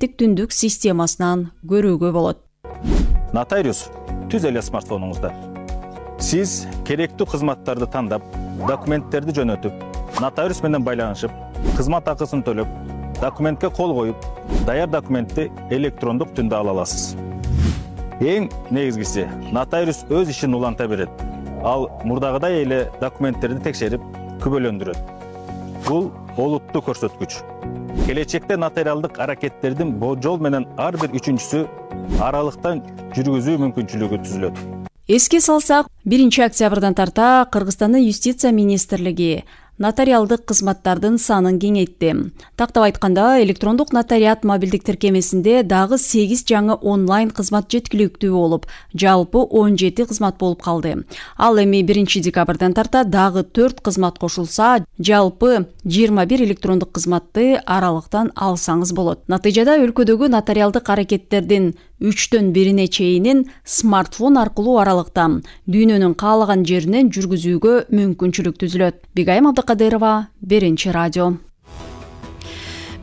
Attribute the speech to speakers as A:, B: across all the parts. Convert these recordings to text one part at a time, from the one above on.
A: түндүк системасынан көрүүгө болот.
B: Нотариус түз эле смартфонуңузда. Сиз керектүү кызматтарды тандап, документтерди жөнөтүп, нотариус менен байланышып, кызмат акысын төлөп, документке кол коюп, даяр документти электрондук түрдө ала аласыз. Эң негизгиси, нотариус өз ишин уланта берет. Ал мурдагыдай эле документтерди текшерип, күбөлөндүрөт. Бул олуттуу көрсөткүч. Келечекте нотариалдык аракеттердин болжол менен ар бир үчүнчүсү аралыктан жүргүзүү мүмкүнчүлүгү түзүлөт.
A: Эске салсак, 1 октябрдан тарта Кыргызстандын юстиция министрлиги нотариалдык кызматтардын санын кеңейтти. Тактап айтканда, электрондук нотариат мобилдик тиркемесинде дагы 8 жаңы онлайн кызмат жеткиликтүү болуп, жалпы 17 кызмат болуп калды. Ал эми 1 декабрдан тарта дагы 4 кызмат кошулса, жалпы 21 электрондук кызматты аралыктан алсаңыз болот. Натыйжада өлкөдөгү нотариалдык аракеттердин 3төн 1 чейинин смартфон аркылуу аралыктан дүйнөнүн каалаган жеринен жүргүзүүгө мүмкүнчүлүк түзүлөт. Бигайым Абдыкадырова, 1 радио.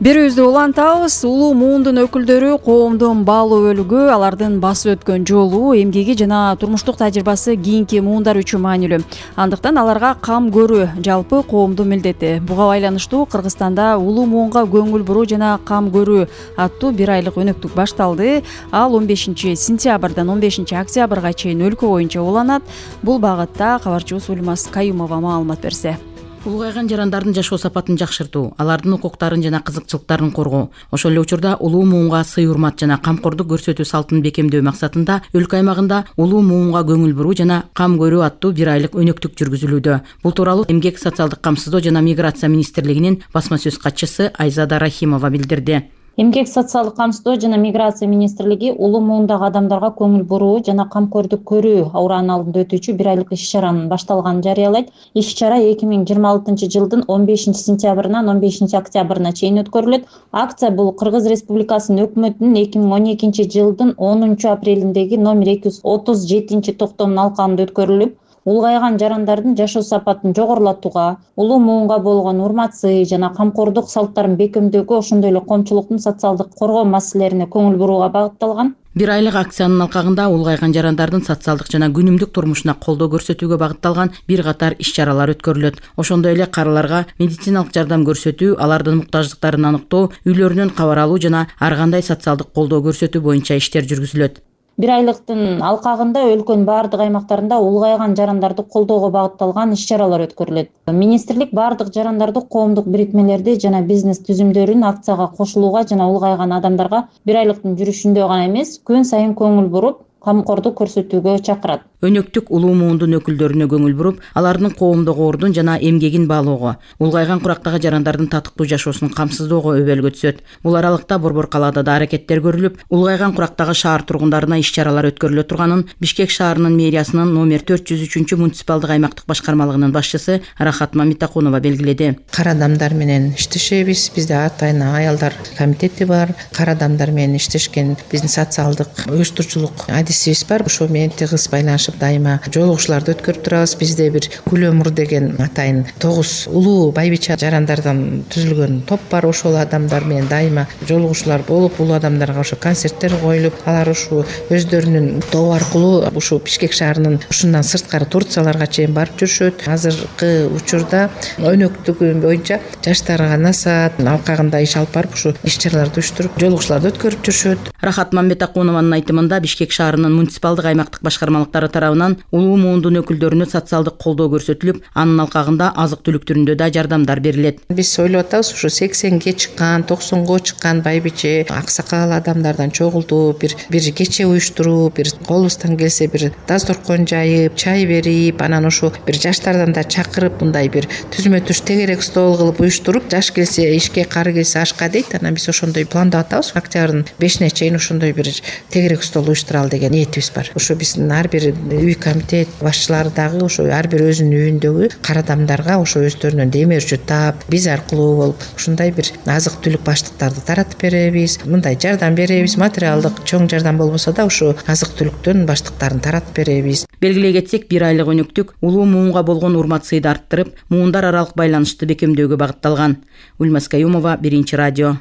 A: Берүүбүздү улантабыз. Улуу муундун өкүлдөрү коомдун баалуу бөлүгү алардын басып өткөн жолу, эмгеги жана турмуштук тажрыйбасы кийинки муундар үчүн маанилүү. Андыктан аларга кам көрүү жалпы коомдун милдети. Буга байланыштуу Кыргызстанда улуу муунга көңүл буруу жана кам көрүү аттуу 1 айлык өнөктүк башталды. Ал 15 сентябрдан 15 октябрга чейин өлкө боюнча уланат. Бул багытта кабарчыбыз Ульмас Каюмова маалымат берсе.
C: Улгайган жарандардын жашоо сапатын жакшыртуу, алардын укуктарын жана кызыкчылыктарын коргоо, ошол эле учурда улуу муунга сый-урмат жана камкордук көрсөтүү салтын бекемдөө максатында өлкө аймагында улуу муунга көңүл буруу жана кам көрүү аттуу 1 айлык өнөктүк жүргүзүлүүдө. Бул тууралуу Эмгек социалдык камсыздоо жана миграция министрлигинин басма сөз катчысы Айзада Рахимова билдирди.
D: Эмгек социалдык камсыздоо жана миграция министрлиги улуу муундагы адамдарга көңүл буруу жана камкордук көрүү аураанын алдында өтүүчү 1 айлык иш-чаранын башталганын жарыялайт. Иш-чара 2026 жылдын 15 сентябрынан 15 октябрына чейин өткөрүлөт. Акция бул Кыргыз Республикасынын өкмөтүнүн 2012 жылдын 10 апрелиндеги номер 237 токтомунун алкагында өткөрүлүп, улгайган жарандардын жашоо сапатын жогорулатууга, улуу муунга болгон урмат-сый жана камкордук салттарын бекемдөөгө, ошондой эле коомчулуктун социалдык коргоо маселелерине көңүл бурууга багытталган.
C: 1 айлык акциянын алкагында улгайган жарандардын социалдык жана күнүмдүк турмушуна колдоо көрсөтүүгө багытталган бир катар иш-чаралар өткөрүлөт. Ошондой эле карыларга медициналык жардам көрсөтүү, алардын муктаждыктарын аныктоо, үйлөрүнөн кабар алуу жана ар кандай социалдык колдоо көрсөтүү боюнча иштер жүргүзүлөт.
D: 1 айлыктын алкагында өлкөнүн бардык аймактарында улгайган жарандарды колдоого багытталган иш-чаралар өткөрүлөт. Министрлик бардык жарандарды, коомдук бирикмелерди жана бизнес түзүмдөрүн акцияга кошулууга жана улгайган адамдарга 1 айлыктын жүрүшүндө гана эмес, күн сайын көңүл буруп, камкордук көрсөтүүгө чакырат.
C: Өнөктүк улуу муундун өкүлдөрүнө көңүл буруп, алардын коомдук ордун жана эмгегин баалоого, улгайган курактагы жарандардын татыктуу жашоосун камсыздоого өбөлгө түсөт. Бул аралыкта Борбор калаада да аракеттер көрүлүп, улгайган курактагы шаар тургундарына иш-чаралар өткөрүлө турганын Бишкек шаарынын мэриясынын номер 403 муниципалдык аймактык башкармалыгынын башчысы Рахат Мамитакунова белгиледи.
E: Кара адамдар менен иштешебиз. Бизде атайын аялдар комитети бар. Кара адамдар менен иштешкен биздин социалдык уюштуруучулук адисибиз бар. Ошо менен тыгыз байланышып дайыма жолугушууларды өткөрүп турабыз. Бизде бир Күлөмур деген атайын 9 улуу байбича жарандардан түзүлгөн топ бар. Ошол адамдар менен дайыма жолугушуулар болуп, улуу адамдарга ошо концерттер коюлуп, алар ушу өздөрүнүн тобу аркылуу ушу Бишкек шаарынын ушундан сырткары Турцияларга чейин барып жүрүшөт. Азыркы учурда өнөктүгү боюнча жаштарга насаат алкагында иш алып барып, ушу иш-чараларды уюштуруп, жолугушууларды өткөрүп жүрүшөт.
C: Рахат Мамитакунованын айтымында Бишкек шаарынын муниципалдык аймактык башкармалыктары тарабынан улуу муундун өкүлдөрүнө социалдык колдоо көрсөтүлүп, анын алкагында азык-түлүк түрүндө да жардамдар берилет.
E: Биз ойлоп атабыз, ушу 80ге чыккан, 90го чыккан байбиче, аксакал адамдардан чогултуп, бир кече уюштуруп, бир колубуздан келсе бир дасторкон жайып, чай берип, анан ушу бир жаштардан да чакырып, мындай бир түзмө-түз тегерек стол кылып уюштуруп, жаш келсе ишке, кары келсе ашка дейт. Анан биз ошондой пландап атабыз. Октябрдын 5-ине чейин ошондой бир тегерек стол уюштуралы деген ниетибиз бар. Ушу биздин ар бир үй комитет башчылары дагы ошо ар бир өзүнүн үйүндөгү кара адамдарга ошо өздөрүнөн демирчү таап, биз аркылуу болуп, ушундай бир азык-түлүк баштыктарды таратып беребиз. Мындай жардам беребиз, материалдык чоң жардам болбосо да ушу азык-түлүктөн баштыктарын таратып беребиз.
C: Белгилей кетсек, 1 айлык өнөктүк улуу муунга болгон урмат-сыйды арттырып, муундар аралык байланышты бекемдөөгө багытталган. Ульмас Каюмова, 1 радио.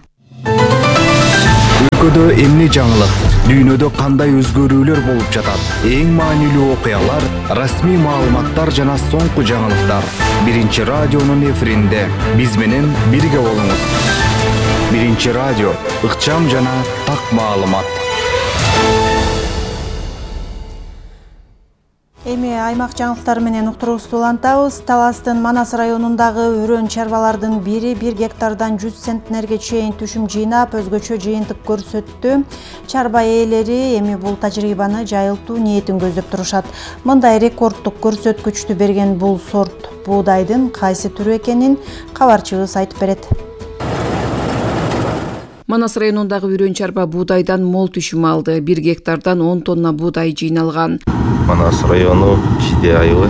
F: өлкөдө эмне жаңылык, дүйнөдө кандай өзгөрүүлөр болуп жатат, эң маанилүү окуялар, расмий маалыматтар жана соңку жаңылыктар Биринчи радионун эфиринде. Биз менен бирге болуңуз. Биринчи радио, ыкчам жана так маалымат.
G: Эми аймак жаңылыктары менен уктуруубузду улантабыз. Таластын Манас районундагы үрөн чарбалардын бири 1 гектардан 100 центнерге чейин түшүм жыйнап, өзгөчө жыйынтык көрсөттү. Чарба ээлери эми бул тажрыйбаны жайылтуу ниетин көздөп турушат. Мындай рекорддук көрсөткүчтү берген бул сорт буудайдын кайсы түрү экенин кабарчыбыз айтып берет.
C: Манас районундагы үрөн чарба буудайдан мол түшүм алды. 1 гектардан 10 тонна буудай жыйналган.
H: Манас району Шиде айылы.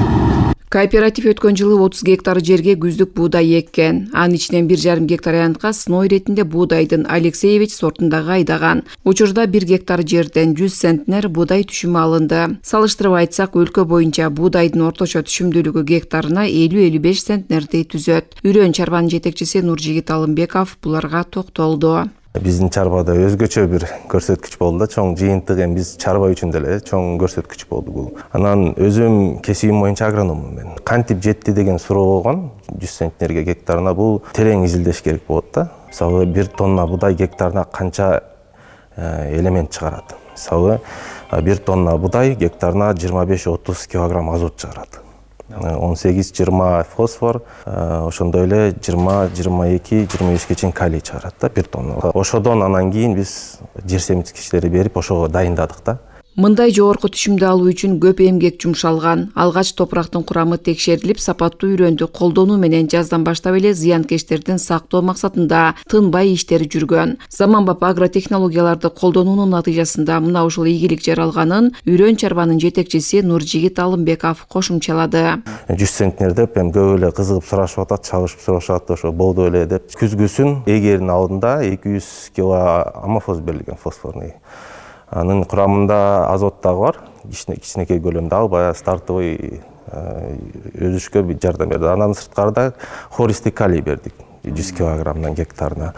C: Кооператив өткөн жылы 30 гектар жерге күздүк буудай эккен. Анын ичинен 1,5 гектар аянтка сной ретинде буудайдын Алексеевич сортундагы айдаган. Учурда 1 гектар жерден 100 центнер буудай түшүмү алынды. Салыштырып айтсак, өлкө боюнча буудайдын орточо түшүмдүүлүгү гектарына 50-55 центнерди түзөт. Үрөн чарбанын жетекчиси Нуржигит Алымбеков буларга токтолду.
H: Биздин чарбада өзгөчө бир көрсөткүч болду да, чоң жыйынтык эми биз чарба үчүн деле чоң көрсөткүч болду бул. Анан өзүм кесибим боюнча агрономмун мен. Кантип жетти деген суроо болгон 100 центнерге гектарына бул терең изилдеш керек болот да. Мисалы 1 тонна буудай гектарына канча элемент чыгарат. Мисалы 1 тонна буудай гектарына 25-30 килограмм азот чыгарат. 18-20 фосфор, ошондой эле 20-22-25 чейин калий чыгарат да 1 тонна. Ошодон анан кийин биз жер семирткичтери берип ошого дайындадык да.
C: Мындай жогорку түшүмдү алуу үчүн көп эмгек жумшалган. Алгач топурактын курамы текшерилип, сапаттуу үрөндү колдонуу менен жаздан баштап эле зыянкечтерден сактоо максатында тынбай иштер жүргөн. Заманбап агротехнологияларды колдонуунун натыйжасында мына ушул ийгилик жаралганын үрөн чарбанын жетекчиси Нуржигит Алымбеков кошумчалады.
H: 100 центнер деп эми көп эле кызыгып сурашып атат, чабышып сурашат, ошо болду эле деп. Күзгүсүн эгердин алдында 200 кг амофос берилген, фосфорный. Анын курамында азот дагы бар, кичинекей көлөмдө, ал баягы стартовый өсүшкө жардам берди. Андан сырткарыда хористик калий бердик 100 килограммдан гектарына.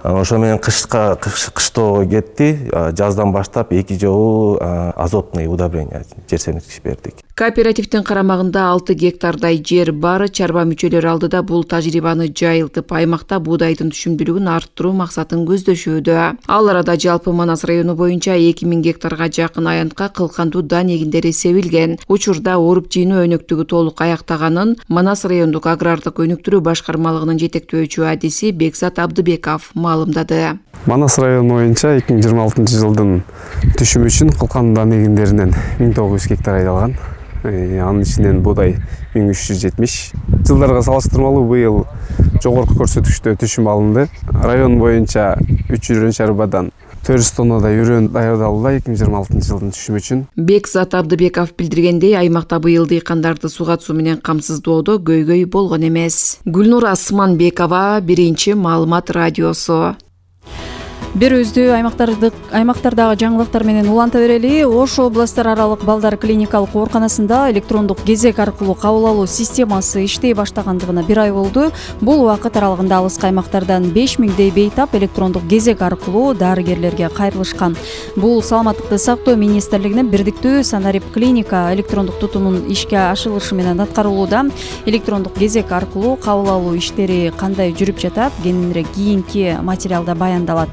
H: Ошо менен кыштоо кетти, жаздан баштап 2 жолу азотный удобрение, жер семирткич бердик.
C: Кооперативдин карамагында 6 гектардай жер бар. Чарба мүчөлөрү алдыда бул тажрыйбаны жайылтып, аймакта буудайдын түшүмдүүлүгүн арттыруу максатын көздөшүүдө. Ал арада жалпы Манас району боюнча 2000 гектарга жакын аянтка кылкандуу дан эгиндери себилген. Учурда оруп жыйноо өнөктүгү толук аяктаганын Манас райондук агрардык өнүктүрүү башкармалыгынын жетектөөчү адиси Бекзат Абдыбеков маалымдады.
I: Манас району боюнча 2026 жылдын түшүмү үчүн кылкандуу дан эгиндеринен 1900 гектар айдалган. Анын ичинен буудай 1370. Жылдарга салыштырмалуу быйыл жогорку көрсөткүчтө түшүм алынды. Район боюнча 3 үрөн чарбадан 400 тоннадай үрөн даярдалды 2026 жылдын түшүмү үчүн.
C: Бекзат Абдыбеков билдиргендей, аймакта быйыл дыйкандарды сууга түсүү менен камсыздоодо көйгөй болгон эмес. Гүлнур Асманбекова, Биринчи маалымат радиосу.
A: Берүүбүздү аймактардагы жаңылыктар менен уланта берели. Ош областтар аралык балдар клиникалык ооруканасында электрондук кезек аркылуу кабыл алуу системасы иштей баштагандыгына 1 ай болду. Бул убакыт аралыгында алыскы аймактардан 5000дей бейтап электрондук кезек аркылуу дарыгерлерге кайрылышкан. Бул Саламаттыкты сактоо министрлигинин бирдиктүү санарип клиника электрондук тутумун ишке ашырышы менен аткарылууда. Электрондук кезек аркылуу кабыл алуу иштери кандай жүрүп жатат, кененирээк кийинки материалда баяндалат.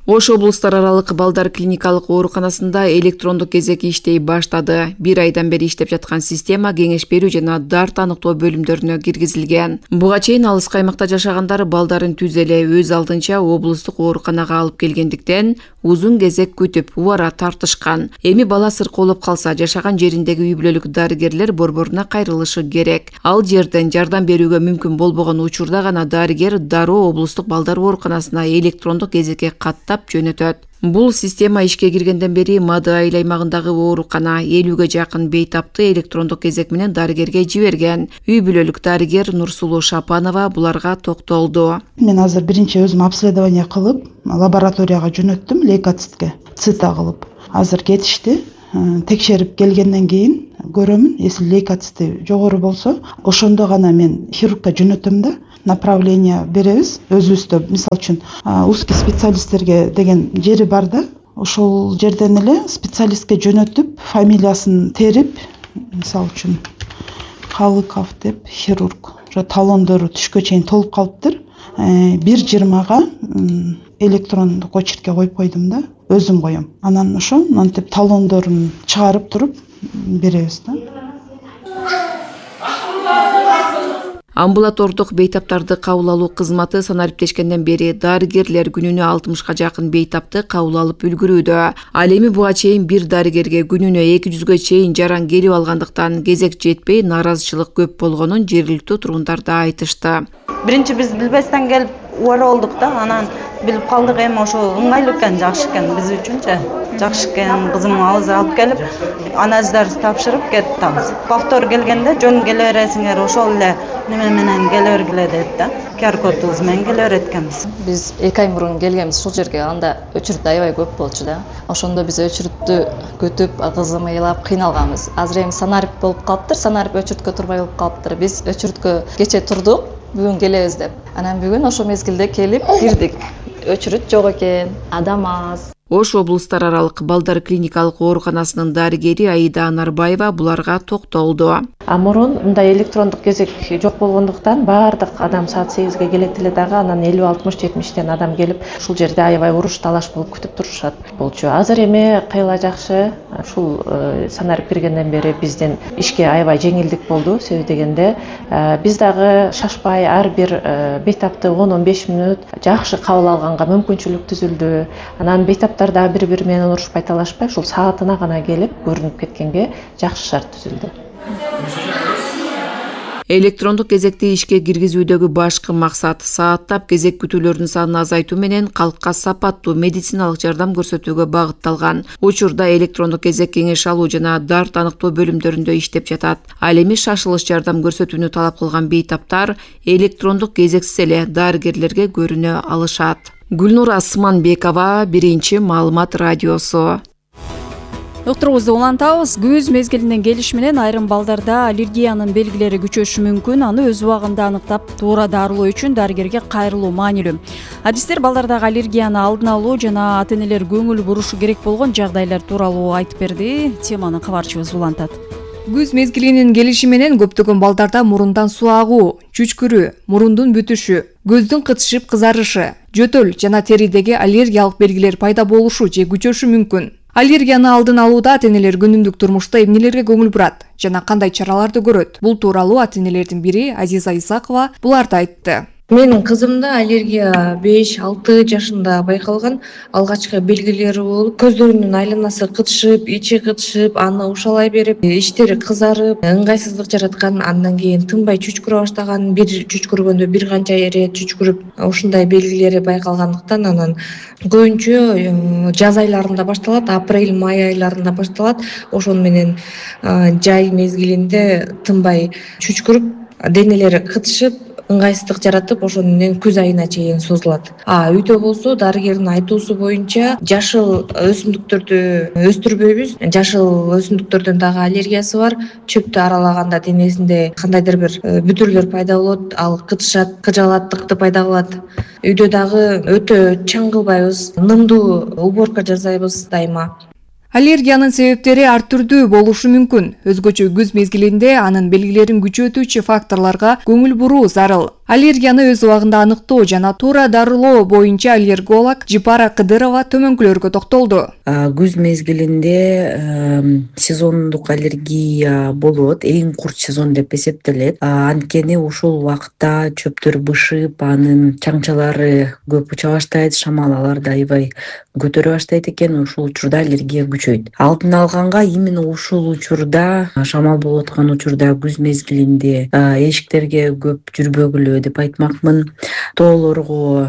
C: Ош облустар аралык балдар клиникалык ооруканасында электрондук кезек иштей баштады. 1 айдан бери иштеп жаткан система кеңеш берүү жана дар таныктоо бөлүмдөрүнө киргизилген. Буга чейин алыскы аймакта жашагандар балдарын түз эле өз алдынча облустук ооруканага алып келгендиктен узун кезек күтүп, убара тартышкан. Эми бала сыркоолоп калса, жашаган жериндеги үй бүлөлүк дарыгерлер борборуна кайрылышы керек. Ал жерден жардам берүүгө мүмкүн болбогон учурда гана дарыгер дароо облустук балдар ооруканасына электрондук кезекке каттап жөнөтөт. Бул система ишке киргенден бери Мады айыл аймагындагы оорукана 50ге жакын бейтапты электрондук кезек менен дарыгерге жиберген. Үй бүлөлүк дарыгер Нурсулуу Шапанова буларга токтолду.
J: Мен азыр биринчи өзүм обследование кылып, лабораторияга жөнөттүм, лейкоцитке, цита кылып. Азыр кетишти. Текшерип келгенден кийин көрөмүн, если лейкоцити жогору болсо, ошондо гана мен хирургка жөнөтөм да. направление беребиз өзүбүздө. Мисалы үчүн узкий специалисттерге деген жери бар да, ошол жерден эле специалистке жөнөтүп, фамилиясын терип, мисалы үчүн Калыков деп хирург, уже талондору түшкө чейин толуп калыптыр. 1.20-га электрондук очеркке коюп койдум да, өзүм коем. Анан ошо мынтип талондорун чыгарып туруп беребиз да.
C: Амбулатордук бейтаптарды кабыл алуу кызматы санариптешкенден бери дарыгерлер күнүнө 60-га жакын бейтапты кабыл алып үлгүрүүдө. Ал эми буга чейин бир дарыгерге күнүнө 200-га чейин жаран келип алгандыктан кезек жетпей нааразычылык көп болгонун жергиликтүү тургундар да айтышты.
K: Биринчи биз билбестен келип убара болдук да, анан билип калдык, эми ошо ыңгайлуу экен, жакшы экен биз үчүнчү. Жакшы экен, кызым азыр алып келип, анализдерди тапшырып кеттибиз. Повтор келгенде жөн келе бересиңер, ошол эле неме менен келе бергиле деп да. QR-кодубуз менен келе берет экенбиз.
L: Биз 2 ай мурун келгенбиз ушул жерге, анда өчүрүт аябай көп болчу да. Ошондо биз өчүрүттү күтүп, кызым ыйлап кыйналганбыз. Азыр эми санарип болуп калыптыр, санарип өчүрүткө турбай болуп калыптыр. Биз өчүрүткө кече турдук, бүгүн келебиз деп. Анан бүгүн ошо мезгилде келип кирдик. Өчүрүт жок экен, адам аз.
C: Ош облустар аралык балдар клиникалык ооруканасынын дарыгери Аида Анарбаева буларга токтолду.
M: Мурун мындай электрондук кезек жок болгондуктан баардык адам саат 8-ге келет эле дагы, анан 50-60-70тен адам келип ушул жерде аябай уруш талаш болуп күтүп турушат болчу. Азыр эми кыйла жакшы, ушул санарип киргенден бери биздин ишке аябай жеңилдик болду. Себеби дегенде биз дагы шашпай ар бир бейтапты 10-15 мүнөт жакшы кабыл алганга мүмкүнчүлүк түзүлдү. Анан бейтаптар дагы бири-бири менен урушпай талашпай, ушул саатына гана келип көрүнүп кеткенге жакшы шарт түзүлдү.
C: Электрондук кезекти ишке киргизүүдөгү башкы максат сааттап кезек күтүүлөрдүн санын азайтуу менен калкка сапаттуу медициналык жардам көрсөтүүгө багытталган. Учурда электрондук кезек кеңеш алуу жана дарт аныктоо бөлүмдөрүндө иштеп жатат. Ал эми шашылыш жардам көрсөтүүнү талап кылган бейтаптар электрондук кезексиз эле дарыгерлерге көрүнө алышат. Гүлнур Асманбекова, Биринчи маалымат радиосу.
A: Доктурубузду улантабыз. Күз мезгилинен келиш менен айрым балдарда аллергиянын белгилери күчөшү мүмкүн. Аны өз убагында аныктап, туура дарылоо үчүн дарыгерге кайрылуу маанилүү. Адистер балдардагы аллергияны алдын алуу жана ата-энелер көңүл бурушу керек болгон жагдайлар тууралуу айтып берди. Теманы кабарчыбыз улантат.
N: Күз мезгилинин келиши менен көптөгөн балдарда мурундан суу агуу, чүчкүрүү, мурундун бүтүшү, көздүн кытышып кызарышы, жөтөл жана теридеги аллергиялык белгилер пайда болушу же күчөшү мүмкүн. Аллергияны алдын алууда ата-энелер күнүмдүк турмушта эмнелерге көңүл бурат жана кандай чараларды көрөт? Бул тууралуу ата-энелердин бири Азиза Исакова буларды айтты.
O: Менин кызымда аллергия 5-6 жашында байкалган. Алгачкы белгилери болуп, көздөрүнүн айланасы кытышып, ичи кытышып, аны ушалай берип, иштери кызарып, ыңгайсыздык жараткан. Андан кийин тынбай чүчкүрө баштаган, бир чүчкүргөндө бир канча ирет чүчкүрүп, ушундай белгилери байкалгандыктан анан көбүнчө жаз айларында башталат, апрель-май айларында башталат. Ошону менен жай мезгилинде тынбай чүчкүрүп, денелери кытышып, ыңгайсыздык жаратып, ошону менен күз айына чейин созулат. Үйдө болсо дарыгердин айтуусу боюнча жашыл өсүмдүктөрдү өстүрбөйбүз. Жашыл өсүмдүктөрдөн дагы аллергиясы бар. Чөптү аралаганда денесинде кандайдыр бир бүтүрлөр пайда болот, ал кытышат, кыжалаттыкты пайда кылат. Үйдө дагы өтө чаң кылбайбыз, нымдуу уборка жасайбыз дайыма.
N: Аллергиянын себептери ар түрдүү болушу мүмкүн. Өзгөчө күз мезгилинде анын белгилерин күчөтүүчү факторлорго көңүл буруу зарыл. Аллергияны өз убагында аныктоо жана туура дарылоо боюнча аллерголог Жипара Кыдырова төмөнкүлөргө токтолду.
P: Күз мезгилинде сезондук аллергия болот, эң курч сезон деп эсептелет. Анткени ушул убакытта чөптөр бышып, анын чаңчалары көп уча баштайт, шамал аларды аябай көтөрө баштайт экен. Ушул учурда аллергия күчөйт. Алдын алганга именно ушул учурда, шамал болуп аткан учурда күз мезгилинде эшиктерге көп жүрбөгүлө деп айтмакмын. Тоолорго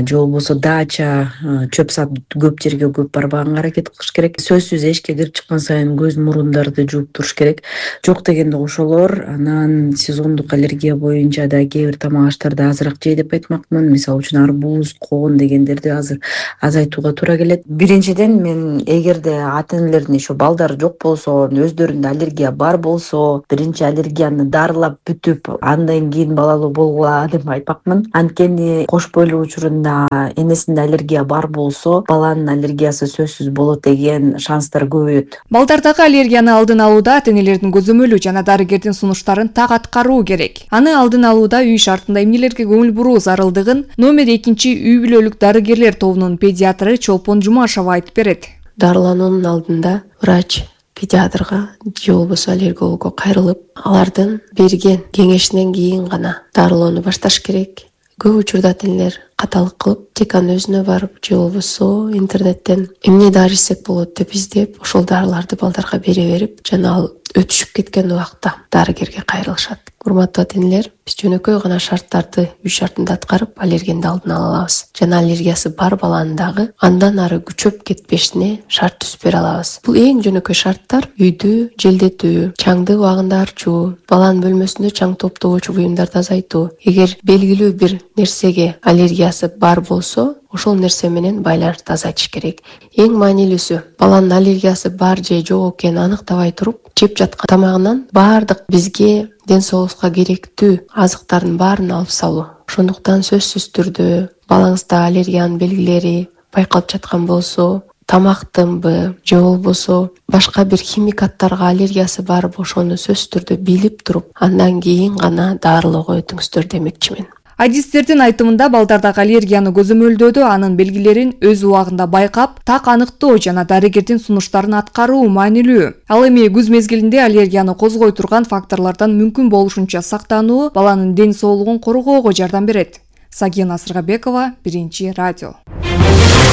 P: же болбосо дача, чөп сап көп жерге көп барбаганга аракет кылыш керек. Сөзсүз эшикке кирип чыккан сайын көз мурундарды жууп туруш керек. Жок дегенде ошолор. Анан сезондук аллергия боюнча да кээ бир тамак аштарды азыраак жей деп айтмакмын. Мисалы үчүн арбуз, коон дегендерди азыр азайтууга туура келет. Биринчиден мен эгерде ата-энелердин ошо балдары жок болсо, өздөрүндө аллергия бар болсо, биринчи аллергияны дарылап бүтүп, андан кийин балалуу болгон ооба деп айтпакмын. Анткени кош бойлуу учурунда энесинде аллергия бар болсо, баланын аллергиясы сөзсүз болот деген шанстар көбөйөт.
N: Балдардагы аллергияны алдын алууда ата-энелердин көзөмөлү жана дарыгердин сунуштарын так аткаруу керек. Аны алдын алууда үй шартында эмнелерге көңүл буруу зарылдыгын номер 2 үй бүлөлүк дарыгерлер тобунун педиатры Чолпон Жумашева айтып берет.
Q: Дарылануунун алдында врач педиатрга же болбосо аллергологго кайрылып, алардын берген кеңешинен кийин гана дарылоону башташ керек. Көп учурда ата-энелер каталык кылып, теканы өзүнө барып же болбосо интернеттен эмне дары ичсек болот деп издеп, ошол дарыларды балдарга бере берип, жана ал өтүшүп кеткен убакта дарыгерге кайрылышат. Урматтуу ата-энелер, биз жөнөкөй гана шарттарды үй шартында аткарып, аллергияны алдын ала алабыз. Жана аллергиясы бар баланын дагы андан ары күчөп кетпешине шарт түзүп бере алабыз. Бул эң жөнөкөй шарттар: үйдү желдетүү, чаңды убагында арчуу, баланын бөлмөсүндө чаң топтогучу буюмдарды азайтуу. Эгер белгилүү бир нерсеге аллергиясы бар болсо, ошол нерсе менен байланышты азайтыш керек. Эң маанилүүсү, баланын аллергиясы бар же жок экенин аныктабай туруп, жеп жаткан тамагынан баардык бизге ден соолукка керектүү азыктардын баарын алып салуу. Ошондуктан сөзсүз түрдө балаңызда аллергиянын белгилери байкалып жаткан болсо, тамактынбы же болбосо башка бир химикаттарга аллергиясы барбы, ошону сөзсүз түрдө билип туруп, андан кийин гана дарылоого өтүңүздөр демекчимин.
N: Адистердин айтымында балдардагы аллергияны көзөмөлдөөдө анын белгилерин өз убагында байкап, так аныктоо жана дарыгердин сунуштарын аткаруу маанилүү. Ал эми күз мезгилинде аллергияны козгой турган факторлордон мүмкүн болушунча сактануу баланын ден соолугун коргоого жардам берет. Сагина Сыргабекова, Биринчи радио.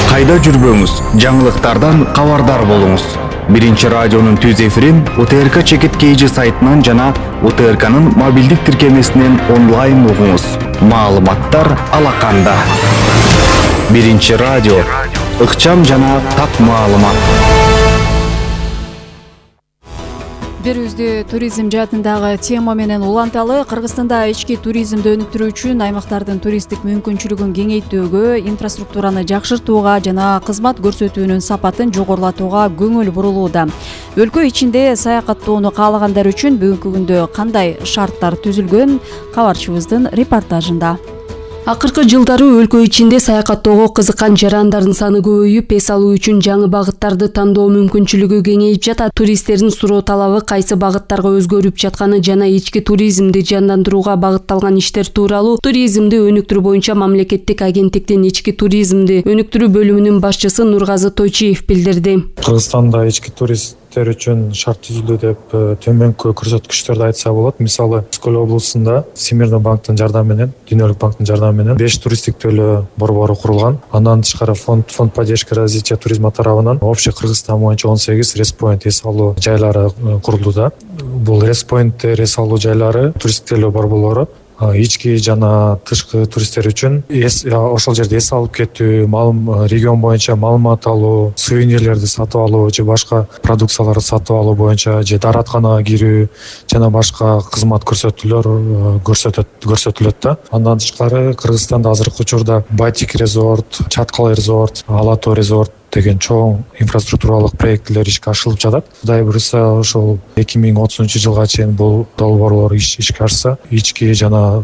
F: Кайда жүрбөңүз, жаңылыктардан кабардар болуңуз. Биринчи радионун түз эфирин УТРК Чекит KG сайтынан жана УТРКнын мобилдик тиркемесинен онлайн угуңуз. Маалыматтар алаканда. Биринчи радио, ыкчам жана так маалымат.
A: Бир үздү туризм жаатындагы тема менен уланталы. Кыргызстанда ички туризмди өнүктүрүү үчүн аймактардын туристтик мүмкүнчүлүгүн кеңейтүүгө, инфраструктураны жакшыртууга жана кызмат көрсөтүүнүн сапатын жогорулатууга көңүл бурулууда. Өлкө ичинде саякаттоону каалагандар үчүн бүгүнкү күндө кандай шарттар түзүлгөн? Кабарчыбыздын репортажында.
R: Акыркы жылдары өлкө ичинде саякаттоого кызыккан жарандардын саны көбөйүп, эс алуу үчүн жаңы багыттарды тандоо мүмкүнчүлүгү кеңейип жатат. Туристтердин суроо талабы кайсы багыттарга өзгөрүп жатканы жана ички туризмди жандандырууга багытталган иштер тууралуу туризмди өнүктүрүү боюнча мамлекеттик агенттиктин ички туризмди өнүктүрүү бөлүмүнүн башчысы Нургазы Тойчиев билдирди.
S: Кыргызстанда ички туристтер үчүн шарт түзүлдү деп төмөнкү көрсөткүчтөрдү айтса болот. Мисалы, Скөл облусунда Всемирный банктын жардамы менен, Дүйнөлүк банктын жардамы менен 5 туристтик төлөө борбору курулган. Андан тышкары фонд поддержки развития туризма тарабынан общий Кыргызстан боюнча 18 респоинт эс алуу жайлары курулууда. Бул респоинттер, эс алуу жайлары туристтик төлөө борборлору ички жана тышкы туристтер үчүн ошол жерде эс алып кетүү, регион боюнча маалымат алуу, сувенирлерди сатып алуу же башка продукцияларды сатып алуу боюнча же дааратканага кирүү жана башка кызмат көрсөтүүлөр көрсөтүлөт да. Андан тышкары Кыргызстанда азыркы учурда Батик резорт, Чаткал резорт, Алатоо резорт деген чоң инфраструктуралык проекттер ишке ашырылып жатат. Кудай буюрса, ошол 2030-жылга чейин бул долбоорлор ишке ашса, ички жана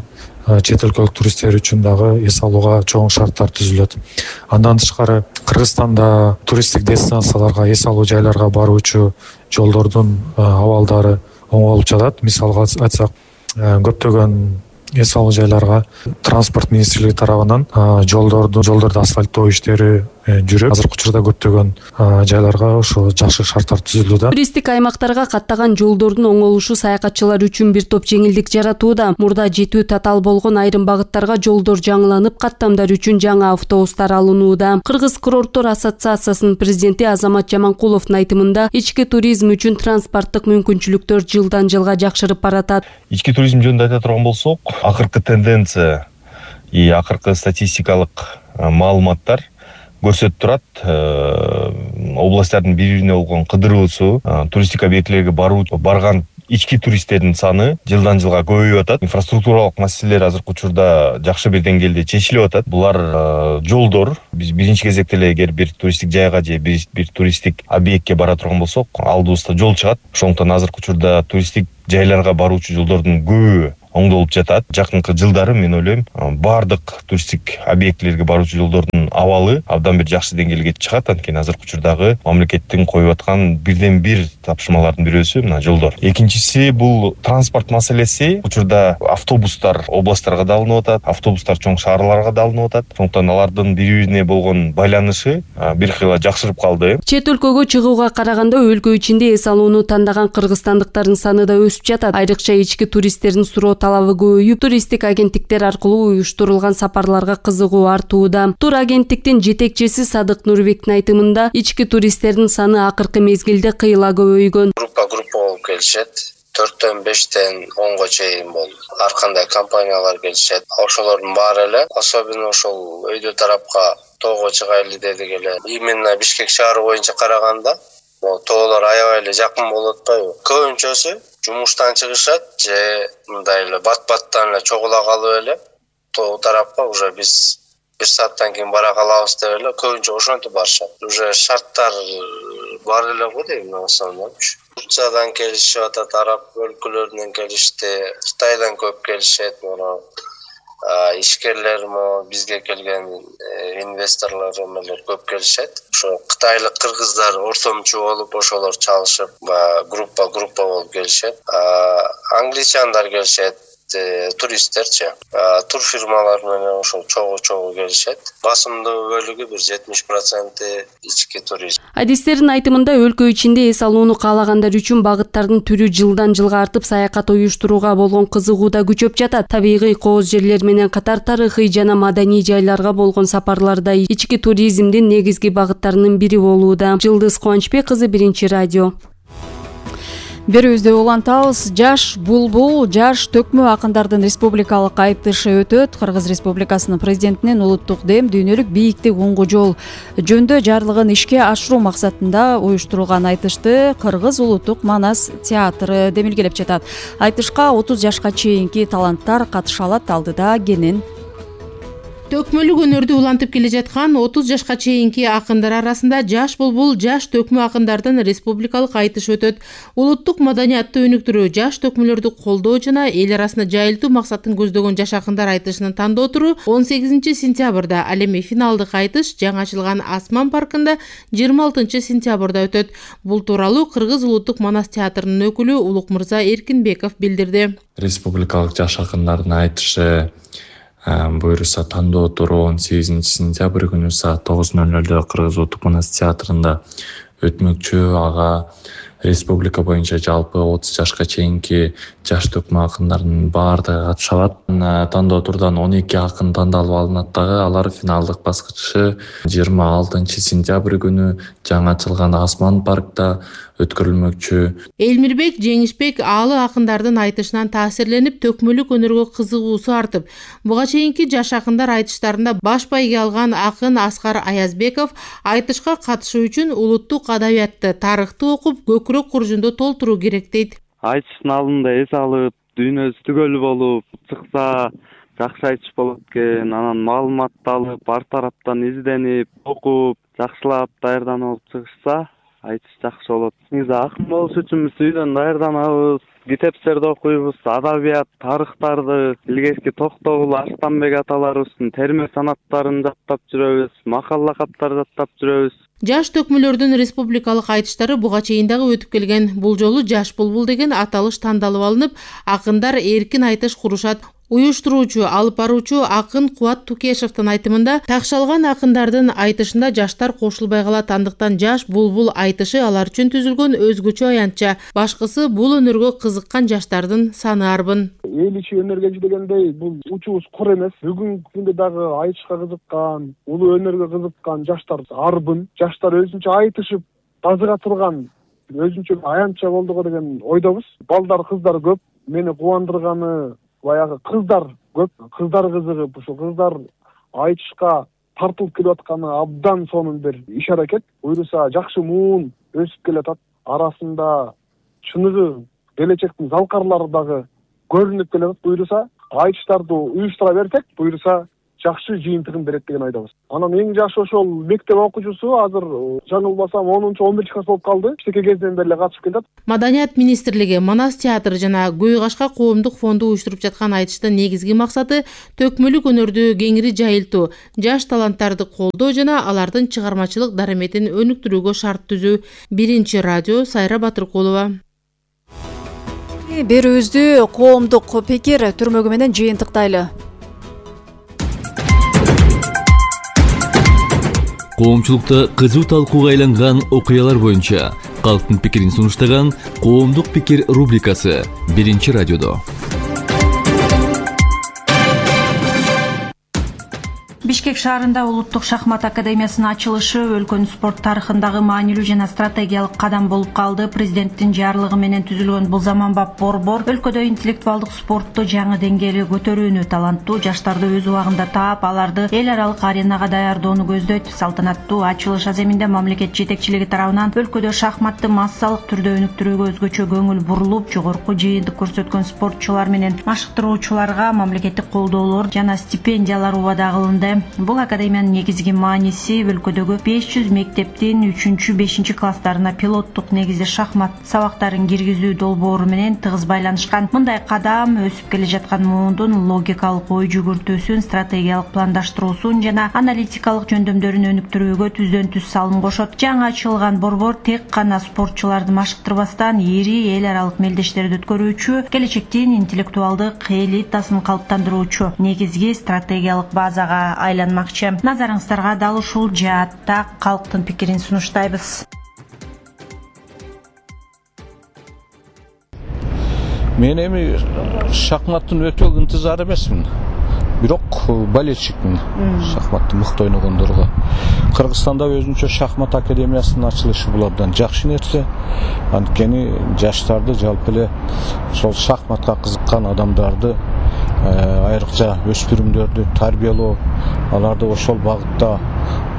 S: чет өлкөлүк туристтер үчүн дагы эс алууга чоң шарттар түзүлөт. Андан тышкары Кыргызстанда туристтик дестинацияларга, эс алуу жайларга баруучу жолдордун абалдары оңолуп жатат. Мисалга айтсак, көптөгөн эс алуу жайларга транспорт министрлиги тарабынан жолдорду асфальттоо иштери жүрөт. Азыркы учурда көптөгөн жайларга ошо жакшы шарттар түзүлүүдө.
R: Туристтик аймактарга каттаган жолдордун оңолушу саякатчылар үчүн бир топ жеңилдик жаратууда. Мурда жетүү татаал болгон айрым багыттарга жолдор жаңыланып, каттамдар үчүн жаңы автобустар алынууда. Кыргыз курорттор ассоциациясынын президенти Азамат Жаманкуловдун айтымында, ички туризм үчүн транспорттук мүмкүнчүлүктөр жылдан жылга жакшырып баратат.
T: Ички туризм жөнүндө айта турган болсок, акыркы тенденция акыркы статистикалык маалыматтар көрсөтүп турат. Областтардын бири-бирине болгон кыдыруусу, туристтик объектилерге барган ички туристтердин саны жылдан жылга көбөйүп атат. Инфраструктуралык маселелер азыркы учурда жакшы бир деңгээлде чечилип атат. Булар жолдор. Биз биринчи кезекте эле эгер бир туристтик жайга же бир туристтик объектке бара турган болсок, алдыбызда жол чыгат. Ошондуктан азыркы учурда туристтик жайларга баруучу жолдордун көбү оңдолуп жатат. Жакынкы жылдары мен ойлойм баардык туристтик объектилерге баруучу жолдордун абалы абдан бир жакшы деңгээлге чыгат. Анткени азыркы учурдагы мамлекеттин коюп аткан бирден бир тапшырмалардын бирөөсү мына жолдор. Экинчиси бул транспорт маселеси. Учурда автобустар областтарга да алынып атат, автобустар чоң шаарларга да алынып атат. Сондуктан алардын бири-бирине болгон байланышы бир кыйла жакшырып калды.
R: Чет өлкөгө чыгууга караганда өлкө ичинде эс алууну тандаган кыргызстандыктардын саны да өсүп жатат. Айрыкча ички туристтердин суроо талабы көбөйүп, туристтик агенттиктер аркылуу уюштурулган сапарларга кызыгуу артууда. Тур агенттиктин жетекчиси Садык Нурбектин айтымында, ички туристтердин саны акыркы мезгилде кыйла көбөйгөн.
U: Группа болуп келишет. 4-төн 5-тен 10го чейин болуп. Ар кандай компаниялар келишет. Ошолордун баары эле, особенно ошол өйдө тарапка тоого чыгайлы дедик эле. Именно Бишкек шаары боюнча караганда, тоолор аябай эле жакын болуп атпайбы? Көбүнчөсү жумуштан чыгышат же мындай эле бат-баттан эле чогула калып эле тоо тарапка уже биз 1 сааттан кийин бара калабыз деп эле көбүнчө ошентип барышат. Уже шарттар бар эле го дейм основном. Турциядан келишип атат, араб өлкөлөрүнөн келишти, Кытайдан көп келишет, мына ишкерлер бизге келген инвесторлор эмелер көп келишет. Ошо кытайлык кыргыздар ортомчу болуп ошолор чалышып, группа болуп келишет. Англичандар келишет, туристтерчи. Тур фирмалар менен ошол чогуу келишет. Басымдуу бөлүгү бир 70% ички турист.
R: Адистердин айтымында өлкө ичинде эс алууну каалагандар үчүн багыттардын түрү жылдан жылга артып, саякат уюштурууга болгон кызыгуу да күчөп жатат. Табигый кооз жерлер менен катар тарыхый жана маданий жайларга болгон сапарларда ички туризмдин негизги багыттарынын бири болууда. Жылдыз Кубанычбек кызы, Биринчи радио.
A: Берүүбүздө улантабыз. Жаш булбул, жаш төкмө акындардын республикалык айтышы өтөт. Кыргыз Республикасынын президентинин улуттук дем дүйнөлүк бийиктик уңгу жол жөнүндө жарлыгын ишке ашыруу максатында уюштурулган айтышты Кыргыз улуттук Манас театры демилгелеп жатат. Айтышка 30 жашка чейинки таланттар катыша алат. Алдыда Кенен.
V: Төкмөлүк өнөрдү улантып келе жаткан 30 жашка чейинки акындар арасында жаш булбул, жаш төкмө акындардын республикалык айтышы өтөт. Улуттук маданиятты өнүктүрүү, жаш төкмөлөрдү колдоо жана эл арасында жайылтуу максатын көздөгөн жаш акындар айтышынын тандоо туру 18 сентябрда, ал эми финалдык айтыш жаңы ачылган Асман паркында 26 сентябрда өтөт. Бул тууралуу Кыргыз улуттук Манас театрынын өкүлү Улукмырза Эркинбеков билдирди.
W: Республикалык жаш акындардын айтышы буюрса тандоо туру 18 сентябрь күнү саат 9:00 Кыргыз улуттук Манас театрында өтмөкчү. Ага республика боюнча жалпы 30 жашка чейинки жаш төкмө акындардын баардыгы катыша алат. Тандоо турдан 12 акын тандалып алынат дагы. Алар финалдык баскычы 26 сентябрь күнү жаңы ачылган Асман паркта өткөрүлмөкчү.
V: Элмирбек Жеңишбек аалы акындардын айтышынан таасирленип, төкмөлүк өнөргө кызыгуусу артып, буга чейинки жаш акындар айтыштарында баш байге алган акын Аскар Аязбеков айтышка катышуу үчүн улуттук адабиятты, тарыхты окуп, көкүрөк куржунду толтуруу керек дейт.
X: Айтыштын алдында эс алып, дүйнөсү түгөл болуп чыкса жакшы айтыш болот экен. Анан маалыматты алып, ар тараптан изденип, окуп, жакшылап даярданып чыгышса айтыш жакшы болот. Негизи акын болуш үчүн биз үйдөн даярданабыз, китептерди окуйбуз, адабият, тарыхтарды, илгерки Токтогул, Арстанбек аталарыбыздын терме санаттарын жаттап жүрөбүз, макалла каттар жаттап жүрөбүз.
V: Жаш төкмөлөрдүн республикалык айтыштары буга чейин дагы өтүп келген. Бул жолу жаш булбул деген аталыш тандалып алынып, акындар эркин айтыш курушат. Уюштуруучу, алып баруучу акын Кубат Тукешевдин айтымында, такшалган акындардын айтышында жаштар кошулбай калат, андыктан жаш булбул айтышы алар үчүн түзүлгөн өзгөчө аянтча. Башкысы бул өнөргө кызыккан жаштардын саны арбын.
Y: Эл ичи өнөргө дегендей, бул учубуз кур эмес. Бүгүнкү күндө дагы айтышка кызыккан, улуу өнөргө кызыккан жаштар арбын. Жаштар өзүнчө айтышып, тазыга турган өзүнчө аянтча болдуго деген ойдобуз. Балдар, кыздар көп. Мени кубандырганы баягы кыздар көп, кыздар кызыгып, ошо кыздар айтышка тартылып келип атканы абдан сонун бир иш аракет. Буюрса жакшы муун өсүп келатат. Арасында чыныгы келечектин залкарлары дагы көрүнүп келатат. Буюрса айтыштарды уюштура берсек, буюрса жакшы жыйынтыгын берет деген айдабыз. Анан эң жашы ошол мектеп окуучусу азыр жаңылбасам 10-11 класс болуп калды. Иштеке кезинен бери эле катышып келет.
V: Маданият министрлиги Манас театры жана Көй Кашка коомдук фонду уюштуруп жаткан айтыштын негизги максаты төкмөлүк өнөрдү кеңири жайылтуу, жаш таланттарды колдоо жана алардын чыгармачылык дараметин өнүктүрүүгө шарт түзүү. Биринчи радио, Сайра Батыркулова.
A: Берүүбүздү коомдук пикир түрмөгү менен жыйынтыктайлы.
B: Коомчулукта кызуу талкууга айланган окуялар боюнча калктын пикирин сунуштаган коомдук пикир рубрикасы Биринчи радиодо.
D: Бишкек шаарында Улуттук шахмат академиясынын ачылышы өлкөнүн спорт тарыхындагы маанилүү жана стратегиялык кадам болуп калды. Президенттин жарлыгы менен түзүлгөн бул заманбап борбор өлкөдө интеллектуалдык спортту жаңы деңгээлге көтөрүүнү, таланттуу жаштарды өз убагында таап, аларды эл аралык аренага даярдоону көздөйт. Салтанаттуу ачылыш аземинде мамлекет жетекчилиги тарабынан өлкөдө шахматты массалык түрдө өнүктүрүүгө өзгөчө көңүл бурулуп, жогорку жыйынтык көрсөткөн спортчулар менен машыктыруучуларга мамлекеттик колдоолор жана стипендиялар убада кылынды. Бул академиянын негизги мааниси өлкөдөгү 500 мектептин 3-5 класстарына пилоттук негизде шахмат сабактарын киргизүү долбоору менен тыгыз байланышкан. Мындай кадам өсүп келе жаткан муундун логикалык ой жүгүртүүсүн, стратегиялык пландаштыруусун жана аналитикалык жөндөмдөрүн өнүктүрүүгө түздөн түз салым кошот. Жаңы ачылган борбор тек гана спортчуларды машыктырбастан ири эл аралык мелдештерди өткөрүүчү, келечектин интеллектуалдык элитасын калыптандыруучу негизги стратегиялык базага айланмакчы. Назарыңыздарга дал ушул жаатта калктын пикирин сунуштайбыз.
E: Мен эми шахматтын өтө ынтызар эмесмин. Бирок болельщикмин шахматты мыкты ойногондорго. Кыргызстанда өзүнчө шахмат академиясынын ачылышы бул абдан жакшы нерсе. Анткени жаштарды жалпы эле ошол шахматка кызыккан адамдарды, айрыкча өспүрүмдөрдү тарбиялоо, аларды ошол багытта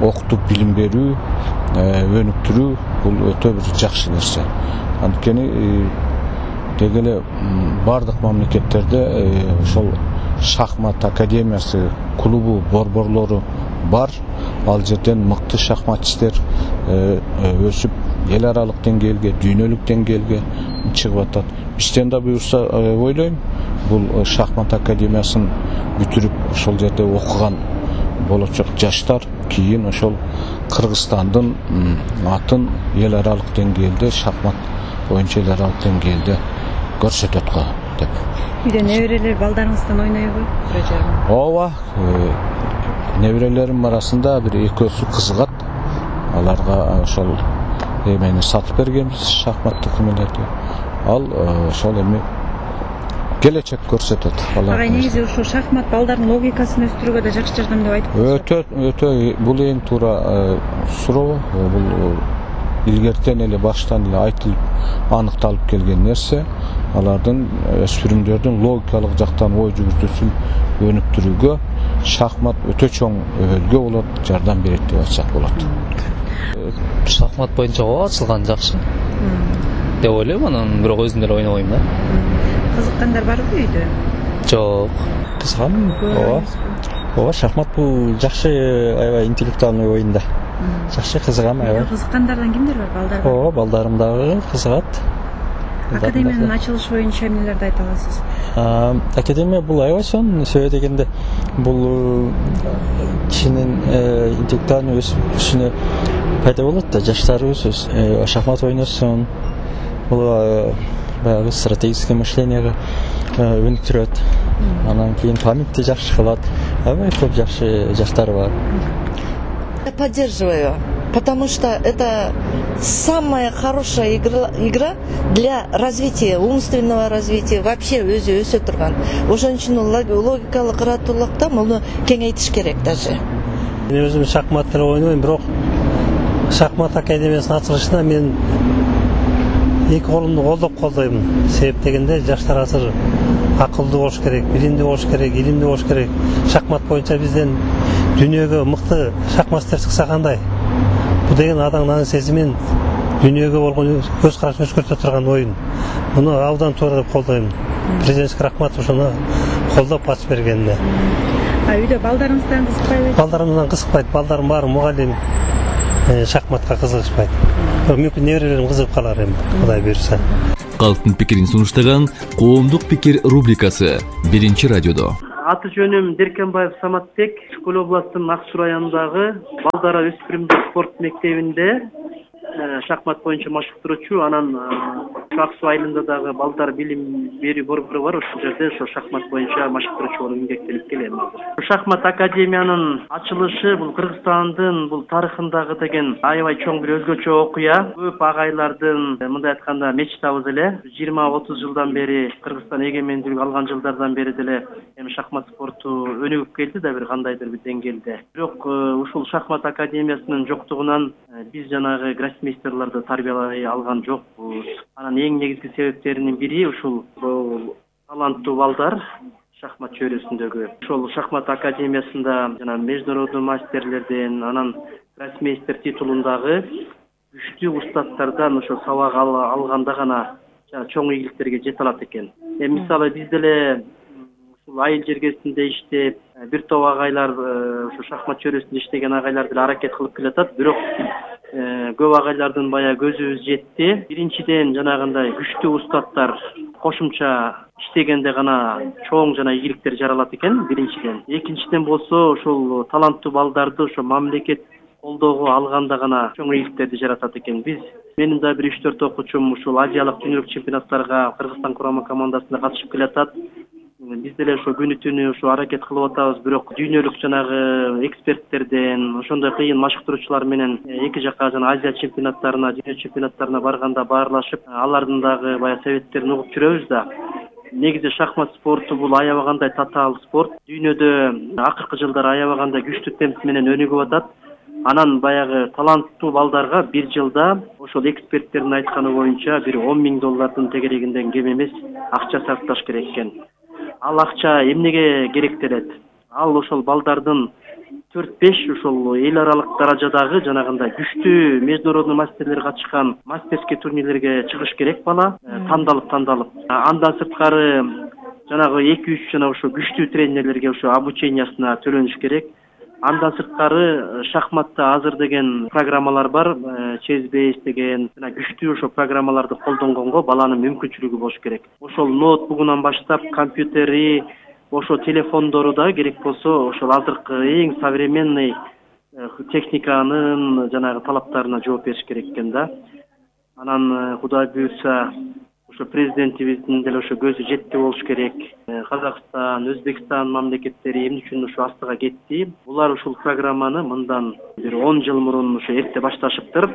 E: окутуп билим берүү, өнүктүрүү бул өтө бир жакшы нерсе. Анткени деги эле бардык мамлекеттерде ошол шахмат академиясы, клубу, борборлору бар. Ал жерден мыкты шахматчистер өсүп эл аралык деңгээлге, дүйнөлүк деңгээлге чыгып атат. Бизден да буюрса ойлойм, бул шахмат академиясын бүтүрүп ошол жерде окуган болочок жаштар кийин ошол Кыргызстандын атын эл аралык деңгээлде, шахмат боюнча эл аралык деңгээлде көрсөтөт го деп.
D: Үйдө неберелер балдарыңыздан ойнойбу?
E: Ооба, неберелерим арасында бир экөөсү кызыгат. Аларга ошол эмени сатып бергенбиз, шахматтык эмелерди. Ал ошол эми келечек көрсөтөт.
D: Ага негизи ушул шахмат балдардын логикасын өстүрүүгө да жакшы жардам деп айтып.
E: Өтө бул эң туура суроо. Бул илгертен эле баштан эле айтылып аныкталып келген нерсе. Алардын өспүрүмдөрдүн логикалык жактан ой жүгүртүүсүн өнүктүрүүгө шахмат өтө чоң өбөлгө болот, жардам берет деп айтсак болот.
G: Шахмат боюнча ачылган жакшы деп ойлойм, анан бирок өзүм деле ойнобойм да.
D: Кызыккандар барбы үйдө?
G: Жок, кызыгам. Ооба, шахмат бул жакшы, аябай интеллектуальный оюн да. Жакшы кызыгам аябай.
D: Кызыккандардан кимдер бар, балдар?
G: Ооба, балдарым дагы кызыгат.
D: Академиянын ачылышы боюнча эмнелерди айта аласыз?
G: Академия бул аябай сонун, себеби дегенде бул кишинин интеллектуальный өсүшүнө пайда болот да, жаштарыбыз шахмат ойносун. Бул баягы стратегическое мышлениеге өнүктүрөт. Анан кийин памятти жакшы кылат. Аябай көп жакшы жаштар бар.
H: Я поддерживаю, потому что это самая хорошая игра для развития, умственного развития, вообще өзү өсө турган. Ошон үчүн логикалык кыраатулукта муну кеңейтиш керек даже.
Z: Мен өзүм шахмат деле ойнойм, бирок шахмат академиясынын ачылышына мен эки колумду колдоп колдойм. Себеп дегенде жаштар азыр акылдуу болуш керек, билимдүү болуш керек, илимдүү болуш керек. Шахмат боюнча бизден дүйнөгө мыкты шахматчылар чыкса кандай? Бул деген адамдын сезимин, дүйнөгө болгон көз карашын өзгөртө турган оюн. Муну абдан туура деп колдойм. Президентке рахмат ошону колдоп ачып бергенине.
D: Үйдө балдарыңыздан кызыкпайбы?
Z: Балдарымдан кызыкпайт. Балдарым баары мугалим, шахматка кызыгышпайт. Мүмкүн неберелерим кызыгып калар эми, Кудай буйруса.
B: Калктын пикирин сунуштаган Коомдук пикир рубрикасы 1-радиодо.
C: Аты жөнүм Деркенбаев Саматбек, Чукул областынын Ак Суу районундагы балдар өспүрүмдөр спорт мектебинде шахмат боюнча машыктыруучу, анан Ак Суу айылында дагы балдар билим берүү борбору бар, ошол жерде ошо шахмат боюнча машыктыруучу болуп эмгектенип келем азыр. Шахмат академиянын ачылышы бул Кыргызстандын бул тарыхындагы деген аябай чоң бир өзгөчө окуя. Көп агайлардын мындай айтканда мечтабыз эле. 20-30 жылдан бери Кыргызстан эгемендүүлүк алган жылдардан бери деле эми шахмат спорту өнүгүп келди да бир кандайдыр бир деңгээлде. Бирок ушул шахмат академиясынын жоктугунан биз жанагы гроссмейстерлерди тарбиялай алган жокпуз. Анан эң негизги себептеринин бири ушул таланттуу балдар шахмат чөйрөсүндөгү. Ошол шахмат академиясында жана международный мастерлерден, анан гроссмейстер титулундагы күчтүү устаттардан ошо сабак алганда гана чоң ийгиликтерге жете алат экен. Мисалы биз деле ушул айыл жергесинде иштеп, бир топ агайлар ошо шахмат чөйрөсүндө иштеген агайлар деле аракет кылып келатат. Бирок көп агайлардын бая көзүбүз жетти. Биринчиден жанагындай күчтүү устаттар кошумча иштегенде гана чоң жана ийгиликтер жаралат экен биринчиден. Экинчиден болсо ошол таланттуу балдарды ошо мамлекет колдоого алганда гана чоң ийгиликтерди жаратат экен. Менин да бир 3-4 окуучум ушул азиялык дүйнөлүк чемпионаттарга Кыргызстан курама командасына катышып келатат. Биз деле ошо күнү түнү ошо аракет кылып атабыз, бирок дүйнөлүк жанагы эксперттерден, ошондой кыйын машыктыруучулар менен эки жака жана Азия чемпионаттарына, дүйнө чемпионаттарына барганда баарлашып, алардын дагы бая советтерин угуп жүрөбүз да. Негизи шахмат спорту бул аябагандай татаал спорт. Дүйнөдө акыркы жылдары аябагандай күчтүү темп менен өнүгүп атат. Анан баягы таланттуу балдарга бир жылда ошол эксперттердин айтканы боюнча бир $10,000 тегерегинден кем эмес акча сарпташ керек экен. Ал акча эмнеге керектелет? Ал ошол балдардын 4-5 ошол эл аралык даражадагы жанагындай күчтүү международный мастерлер катышкан мастерский турнирлерге чыгыш керек бала, тандалып. Андан сырткары жанагы 2-3 жана ошо күчтүү тренерлерге ошо обучениясына төлөнүш керек. Андан сырткары шахматта азыр деген программалар бар, Chessbase деген жана күчтүү ошо программаларды колдонгонго баланын мүмкүнчүлүгү болуш керек. Ошол ноутбугунан баштап компьютери, ошо телефондору да керек болсо ошол азыркы эң современный техниканын жанагы талаптарына жооп бериш керек экен да. Анан Кудай буйрса ошо президентибиздин деле ошо көзү жетти болуш керек. Казакстан, Өзбекстан мамлекеттери эмне үчүн ошо астыга кетти? Булар ушул программаны мындан бир 10 жыл мурун ошо эрте башташыптыр.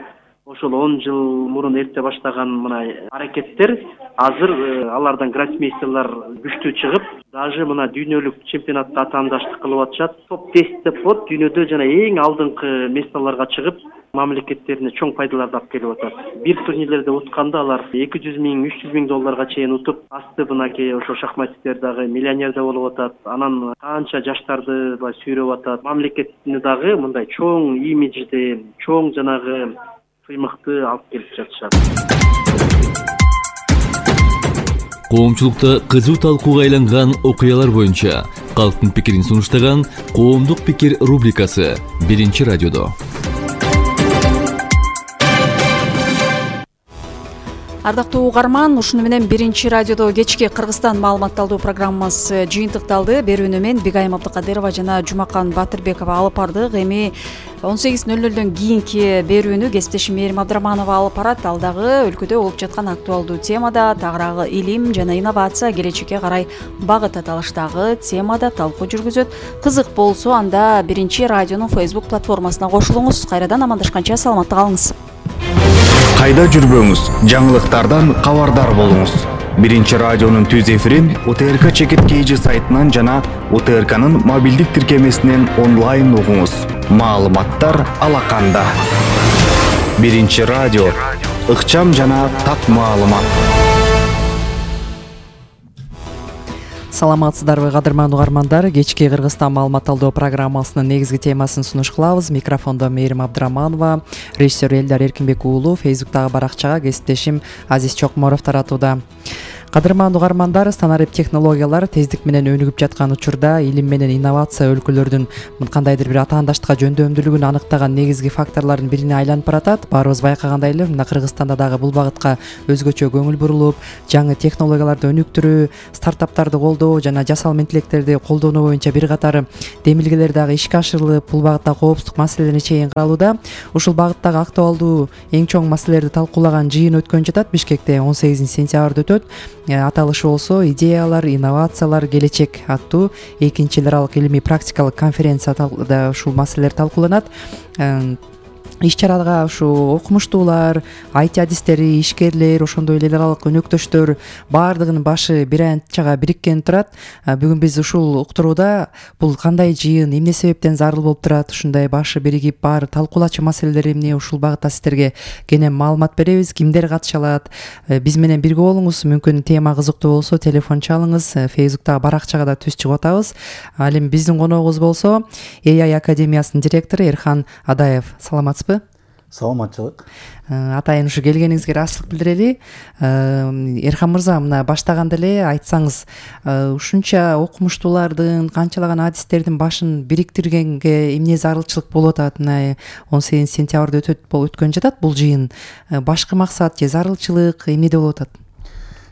C: Ошол 10 жыл мурун эрте баштаган мына аракеттер азыр алардан гроссмейстерлер күчтүү чыгып, даже мына дүйнөлүк чемпионатта атаандаштык кылып атышат. Топ-10 деп болот, дүйнөдө жана эң алдыңкы местолорго чыгып, мамлекеттерине чоң пайдаларды алып келип атат. Бир турнирлерде утканда алар $200,000–300,000 чейин утуп, асты мынакей ошо шахматисттер дагы миллионер да болуп атат. Анан канча жаштарды сүйрөп атат. Мамлекетине дагы мындай чоң имиджди, чоң жанагы сыймыкты алып келип жатышат.
B: Коомчулукта кызуу талкууга айланган окуялар боюнча калктын пикирин сунуштаган Коомдук пикир рубрикасы 1-радиодо.
A: Ардактуу угарман, ушуну менен 1-радиодо кечки Кыргызстан маалыматталдуу программасы жыйынтыкталды. Берүүнү мен Бигайым Абдыкадырова жана Жумакан Батырбекова алып бардык. Эми 18:00 кийинки берүүнү кесиптешим Мээрим Абдыраманова алып барат. Ал дагы өлкөдө болуп жаткан актуалдуу темада, тагыраагы илим жана инновация келечекке карай багыт аталыштагы темада талкуу жүргүзөт. Кызык болсо анда 1-радионун Facebook платформасына кошулуңуз. Кайрадан амандашканча саламатта калыңыз.
F: Кайда жүрбөңүз, жаңылыктардан кабардар болуңуз. 1-радионун түз эфирин УТРК чекит KG сайтынан жана УТРКнын мобилдик тиркемесинен онлайн угуңуз. Маалыматтар алаканда. 1-радио, ыкчам жана так маалымат.
I: Саламатсыздарбы кадырман угармандар, кечки Кыргызстан маалыматталдоо программасынын негизги темасын сунуш кылабыз. Микрофондо Мээрим Абдыраманова, режиссер Элдар Эркинбек уулу, Фейсбуктагы баракчага кесиптешим Азиз Чокморов таратууда. Кадырман угармандар, санарип технологиялар тездик менен өнүгүп жаткан учурда илим менен инновация өлкөлөрдүн кандайдыр бир атаандаштыкка жөндөмдүүлүгүн аныктаган негизги факторлордун бирине айланып баратат. Баарыбыз байкагандай эле мына Кыргызстанда дагы бул багытка өзгөчө көңүл бурулуп, жаңы технологияларды өнүктүрүү, стартаптарды колдоо жана жасалма интеллекттерди колдонуу боюнча бир катар демилгелер дагы ишке ашырылып, бул багытта коопсуздук маселелерине чейин каралууда. Ушул багыттагы актуалдуу эң чоң маселелерди талкуулаган жыйын өткөн жатат. Бишкекте 18 сентябрда өтөт. Аталышы болсо идеялар, инновациялар, келечек аттуу экинчи эл аралык илимий практикалык конференцияда ушул маселелер талкууланат. Иш-чарага ушу окумуштуулар, IT адистери, ишкерлер, ошондой эле эл аралык өнөктөштөр баардыгынын башы бир анчага бириккен турат. Бүгүн биз ушул уктурууда бул кандай жыйын, эмне себептен зарыл болуп турат, ушундай башы биригип баары талкуулачу маселелер эмне, ушул багытта сиздерге кенен маалымат беребиз. Кимдер катыша алат? Биз менен бирге болуңуз. Мүмкүн тема кызыктуу болсо телефон чалыңыз. Фейсбуктагы баракчага да түз чыгып атабыз. Ал эми биздин коногубуз болсо AI Академиясынын директору Эрхан Адаев. Саламатсызбы?
J: Саламатчылык.
I: Атайын ушу келгениңизге ыраазычылык билдирели. Эрхан мырза, мына баштаганда эле айтсаңыз, ушунча окумуштуулардын, канчалаган адистердин башын бириктиргенге эмне зарылчылык болуп атат? Мына 18 сентябрда өткөн жатат бул жыйын. Башкы максат же зарылчылык эмнеде болуп атат?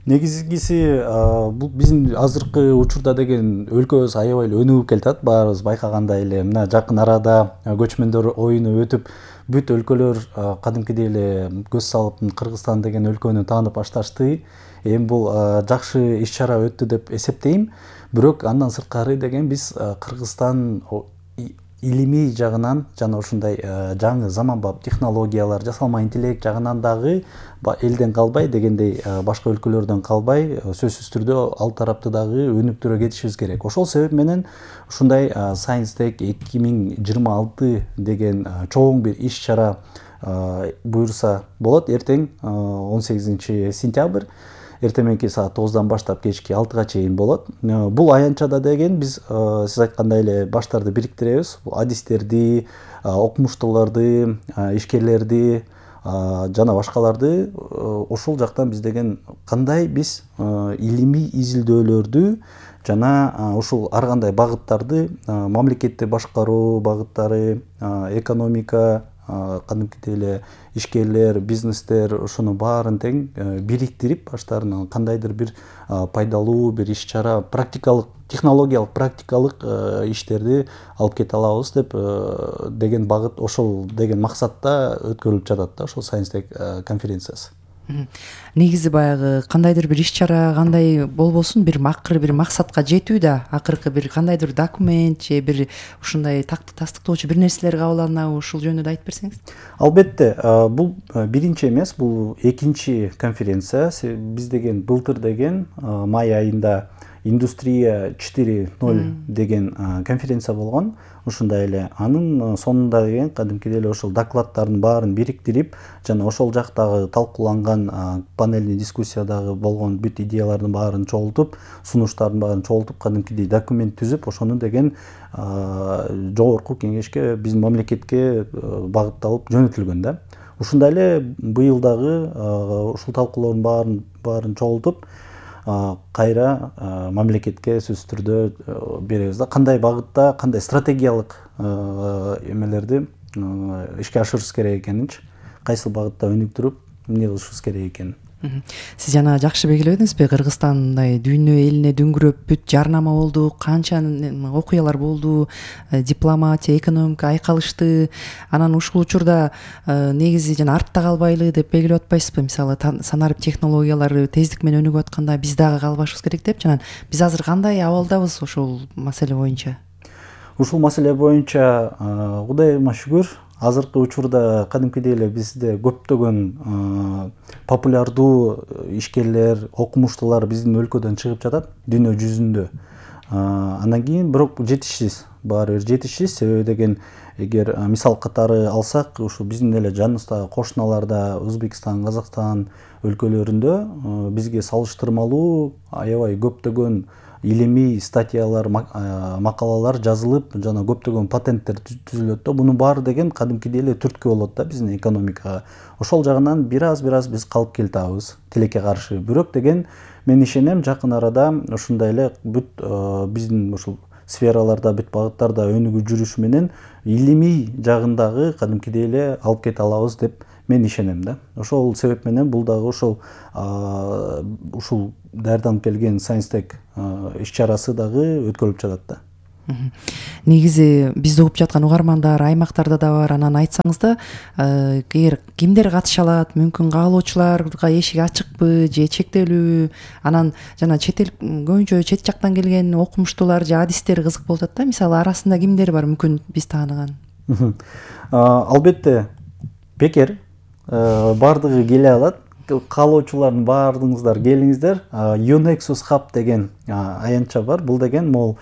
J: Негизгиси бул биздин азыркы учурда деген өлкөбүз аябай эле өнүгүп келатат. Баарыбыз байкагандай эле мына жакын арада көчмөндөр оюну өтүп, бүт өлкөлөр кадимкидей эле көз салып Кыргызстан деген өлкөнү таанып башташты. Эми бул жакшы иш-чара өттү деп эсептейм. Бирок андан сырткары деген биз Кыргызстан илимий жагынан жана ушундай жаңы заманбап технологиялар, жасалма интеллект жагынан дагы элден калбай дегендей башка өлкөлөрдөн калбай, сөзсүз түрдө ал тарапты дагы өнүктүрө кетишибиз керек. Ошол себеп менен ушундай Science Tech 2026 деген чоң бир иш-чара буюрса болот. Эртең 18 сентябрь эртең мененки саат 9-дан баштап кечки 6-га чейин болот. Бул аянтчада деген биз сиз айткандай эле баштарды бириктиребиз. Адистерди, окумуштууларды, ишкерлерди жана башкаларды ошол жактан биз деген кандай биз илимий изилдөөлөрдү жана ушул ар кандай багыттарды, мамлекетти башкаруу багыттары, экономика, кадимкидей эле ишкерлер, бизнестер ошону баарын тең бириктирип баштарынан кандайдыр бир пайдалуу бир иш-чара, практикалык, технологиялык практикалык иштерди алып кете алабыз деп деген багыт, ошол деген максатта өткөрүлүп жатат да ошол Science Tech конференциясы.
I: Негизи баягы кандайдыр бир иш-чара, кандай болбосун бир акыры бир максатка жетүү да, акыркы бир кандайдыр документ же бир ушундай тастыктоочу бир нерселер кабыл алынабы, ушул жөнүндө айтып берсеңиз.
J: Албетте, бул биринчи эмес, бул экинчи конференция. Биз деген былтыр деген май айында Индустрия 4.0 деген конференция болгон. Ушундай эле анын сонунда деген кадимкидей эле ошол докладдардын баарын бириктирип жана ошол жактагы талкууланган панельный дискуссиядагы болгон бүт идеялардын баарын чогултуп, сунуштардын баарын чогултуп кадимкидей документ түзүп, ошону деген жогорку кеңешке, биздин мамлекетке багытталып жөнөтүлгөн да. Ушундай эле быйыл дагы ушул талкуулоодун баарын чогултуп кайра мамлекетке сөзсүз түрдө беребиз да. Кандай багытта, кандай стратегиялык эмелерди ишке ашырышыбыз керек экенинчи, кайсы багытта өнүктүрүп, эмне кылышыбыз керек экенин.
I: Сиз жана жакшы белгиледиңизби, Кыргызстандай дүйнө элине дүңгүрөп бүт жарнама болду, канча окуялар болду, дипломатия, экономика айкалышты. Анан ушул учурда негизи жана артта калбайлы деп белгилеп атпайсызбы? Мисалы санарип технологиялары тездик менен өнүгүп атканда биз дагы калбашыбыз керек деп. Жана биз азыр кандай абалдабыз ушул маселе боюнча?
J: Ушул маселе боюнча Кудайыма шүгүр, азыркы учурда кадимкидей эле бизде көптөгөн популярдуу ишкерлер, окумуштуулар биздин өлкөдөн чыгып жатат дүйнө жүзүндө. Андан кийин бирок жетишсиз, баары бир жетишсиз. Себеби деген эгер мисал катары алсак, ушу биздин эле жаныбыздагы кошуналарда, Өзбекстан, Казакстан өлкөлөрүндө бизге салыштырмалуу аябай көптөгөн илимий статьялар, макалалар жазылып, жана көптөгөн патенттер түзүлөт да. Мунун баары деген кадимкидей эле түрткү болот да биздин экономикага. Ошол жагынан бир аз биз калып келатабыз тилекке каршы. Бирок деген мен ишенем жакын арада ушундай эле бүт биздин ушул сфераларда, бүт багыттарда өнүгүп жүрүш менен илимий жагындагы кадимкидей эле алып кете алабыз деп мен ишенем да. Ошол себеп менен бул дагы ушул даярданып келген Science-Tech иш-чарасы дагы өткөрүлүп жатат да.
I: Негизи бизди угуп жаткан угармандар аймактарда да бар. Анан айтсаңыз да, эгер кимдер катыша алат, мүмкүн каалоочуларга эшик ачыкпы же чектелүүбү? Анан жана чет эл көбүнчө чет жактан келген окумуштуулар же адистер кызык болуп атат да. Мисалы арасында кимдер бар мүмкүн биз тааныган?
J: Албетте бекер бардыгы келе алат. Каалоочулардын баардыгыңыздар келиңиздер. Unexus Hub деген аянтча бар. Бул деген могул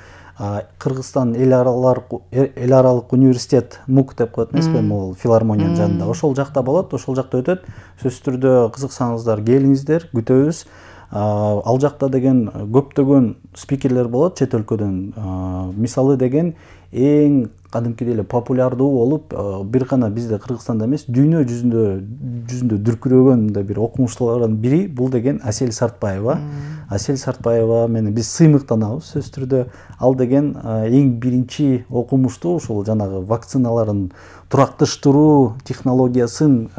J: Кыргызстан эл аралык университет МУК деп коет эмеспи, могул филармониянын жанында. Ошол жакта болот, ошол жакта өтөт. Сөзсүз түрдө кызыксаңыздар келиңиздер, күтөбүз. Ал жакта деген көптөгөн спикерлер болот чет өлкөдөн. Мисалы деген эң кадимкидей эле популярдуу болуп, бир гана бизде Кыргызстанда эмес, дүйнө жүзүндө дүркүрөгөн бир окумуштуулардын бири бул деген Асель Сартбаева. Асель Сартбаева менен биз сыймыктанабыз. Сөзсүз түрдө ал деген эң биринчи окумуштуу ушул жанагы вакциналарын туракташтыруу технологиясын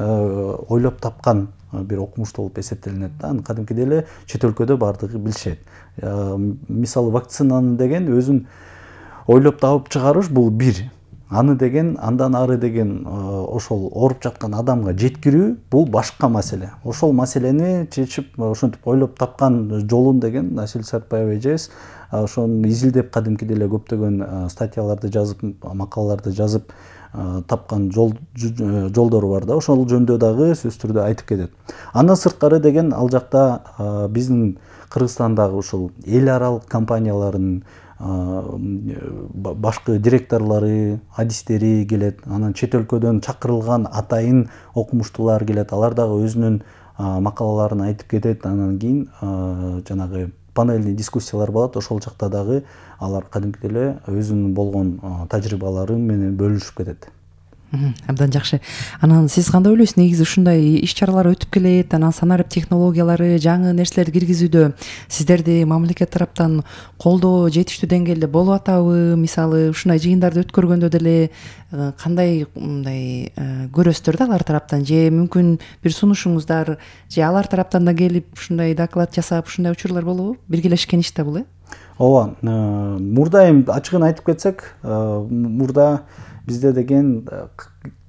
J: ойлоп тапкан бир окумуштуу болуп эсептелинет да. Аны кадимкидей эле чет өлкөдө бардыгы билишет. Мисалы вакцинаны деген өзүн ойлоп табып чыгарыш бул бир. Аны деген андан ары деген ошол ооруп жаткан адамга жеткирүү бул башка маселе. Ошол маселени чечип ошентип ойлоп тапкан жолун деген Асель Сартбаева эжебиз ошону изилдеп кадимкидей эле көптөгөн статьяларды жазып, макалаларды жазып тапкан жолдору бар да. Ошол жөнүндө дагы сөзсүз түрдө айтып кетет. Андан сырткары деген ал жакта биздин Кыргызстандагы ушул эл аралык компаниялардын башкы директорлору, адистери келет. Анан чет өлкөдөн чакырылган атайын окумуштуулар келет. Алар дагы өзүнүн макалаларын айтып кетет. Анан кийин жанагы панельный дискуссиялар болот. Ошол жакта дагы алар кадимкидей эле өзүнүн болгон тажрыйбалары менен бөлүшүп кетет.
I: Абдан жакшы. Анан сиз кандай ойлойсуз? Негизи ушундай иш-чаралар өтүп келет, анан санарип технологиялары, жаңы нерселерди киргизүүдө сиздерди мамлекет тараптан колдоо жетиштүү деңгээлде болуп атабы? Мисалы, ушундай жыйындарды өткөргөндө деле кандай мындай көрөсүздөр да алар тараптан, же мүмкүн бир сунушуңуздар, же алар тараптан да келип ушундай доклад жасап, ушундай учурлар болобу? Биргелешкен иш да бул,
J: Ооба, мурда эми ачыгын айтып кетсек, мурда бизде деген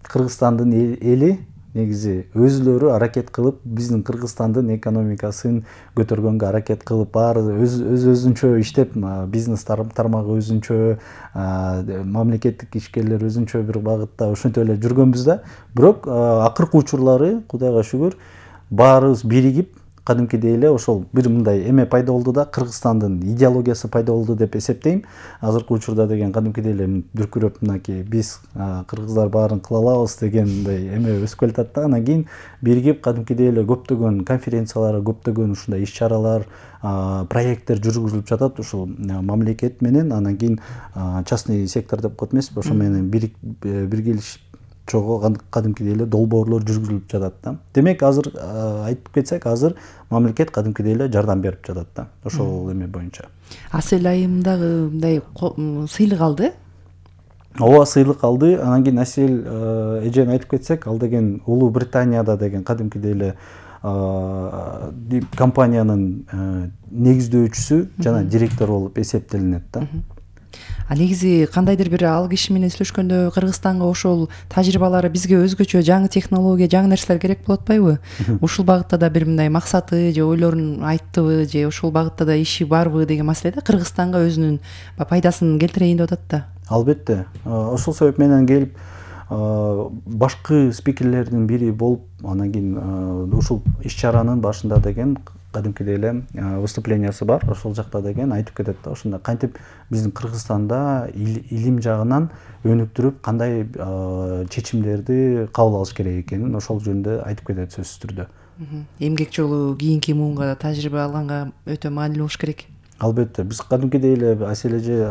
J: Кыргызстандын эли негизи өзүлөрү аракет кылып, биздин Кыргызстандын экономикасын көтөргөнгө аракет кылып, баары өзүнчө иштеп, бизнес тармагы өзүнчө, мамлекеттик ишкерлер өзүнчө бир багытта ошентип эле жүргөнбүз да. Бирок акыркы учурлары, Кудайга шүгүр, баарыбыз биригип, кадимкидей эле ошол бир мындай эме пайда болду да, Кыргызстандын идеологиясы пайда болду деп эсептейм. Азыркы учурда деген кадимкидей эле дүркүрөп мынакей биз кыргыздар баарын кыла алабыз деген мындай эме өсүп келатат да. Анан кийин биригип кадимкидей эле көптөгөн конференциялар, көптөгөн ушундай иш-чаралар, проекттер жүргүзүлүп жатат ушул мамлекет менен, анан кийин частный сектор деп коет эмеспи, ошо менен биргелешип чогуу кадимкидей эле долбоорлор жүргүзүлүп жатат да. Демек азыр айтып кетсек, азыр мамлекет кадимкидей эле жардам берип жатат да, ошол эме боюнча.
I: Асель айым дагы мындай сыйлык алды.
J: Ооба, сыйлык алды. Анан кийин Асель эжени айтып кетсек, ал деген Улуу Британияда деген кадимкидей эле компаниянын негиздөөчүсү жана директору болуп эсептелинет да.
I: Негизи кандайдыр бир ал киши менен сүйлөшкөндө Кыргызстанга ошол тажрыйбалары бизге өзгөчө жаңы технология, жаңы нерселер керек болуп атпайбы? Ушул багытта да бир мындай максаты же ойлорун айттыбы, же ушул багытта да иши барбы деген маселе да, Кыргызстанга өзүнүн пайдасын келтирейин деп атат да.
J: Албетте. Ошол себеп менен келип башкы спикерлердин бири болуп, анан кийин ушул иш-чаранын башында деген кадимкидей эле выступлениясы бар. Ошол жакта деген айтып кетет да, ошондой кантип биздин Кыргызстанда илим жагынан өнүктүрүп, кандай чечимдерди кабыл алыш керек экенин ошол жөнүндө айтып кетет сөзсүз түрдө.
I: Эмгек жолу кийинки муунга тажрыйба алганга өтө маанилүү болуш керек.
J: Албетте биз кадимкидей эле Асель эже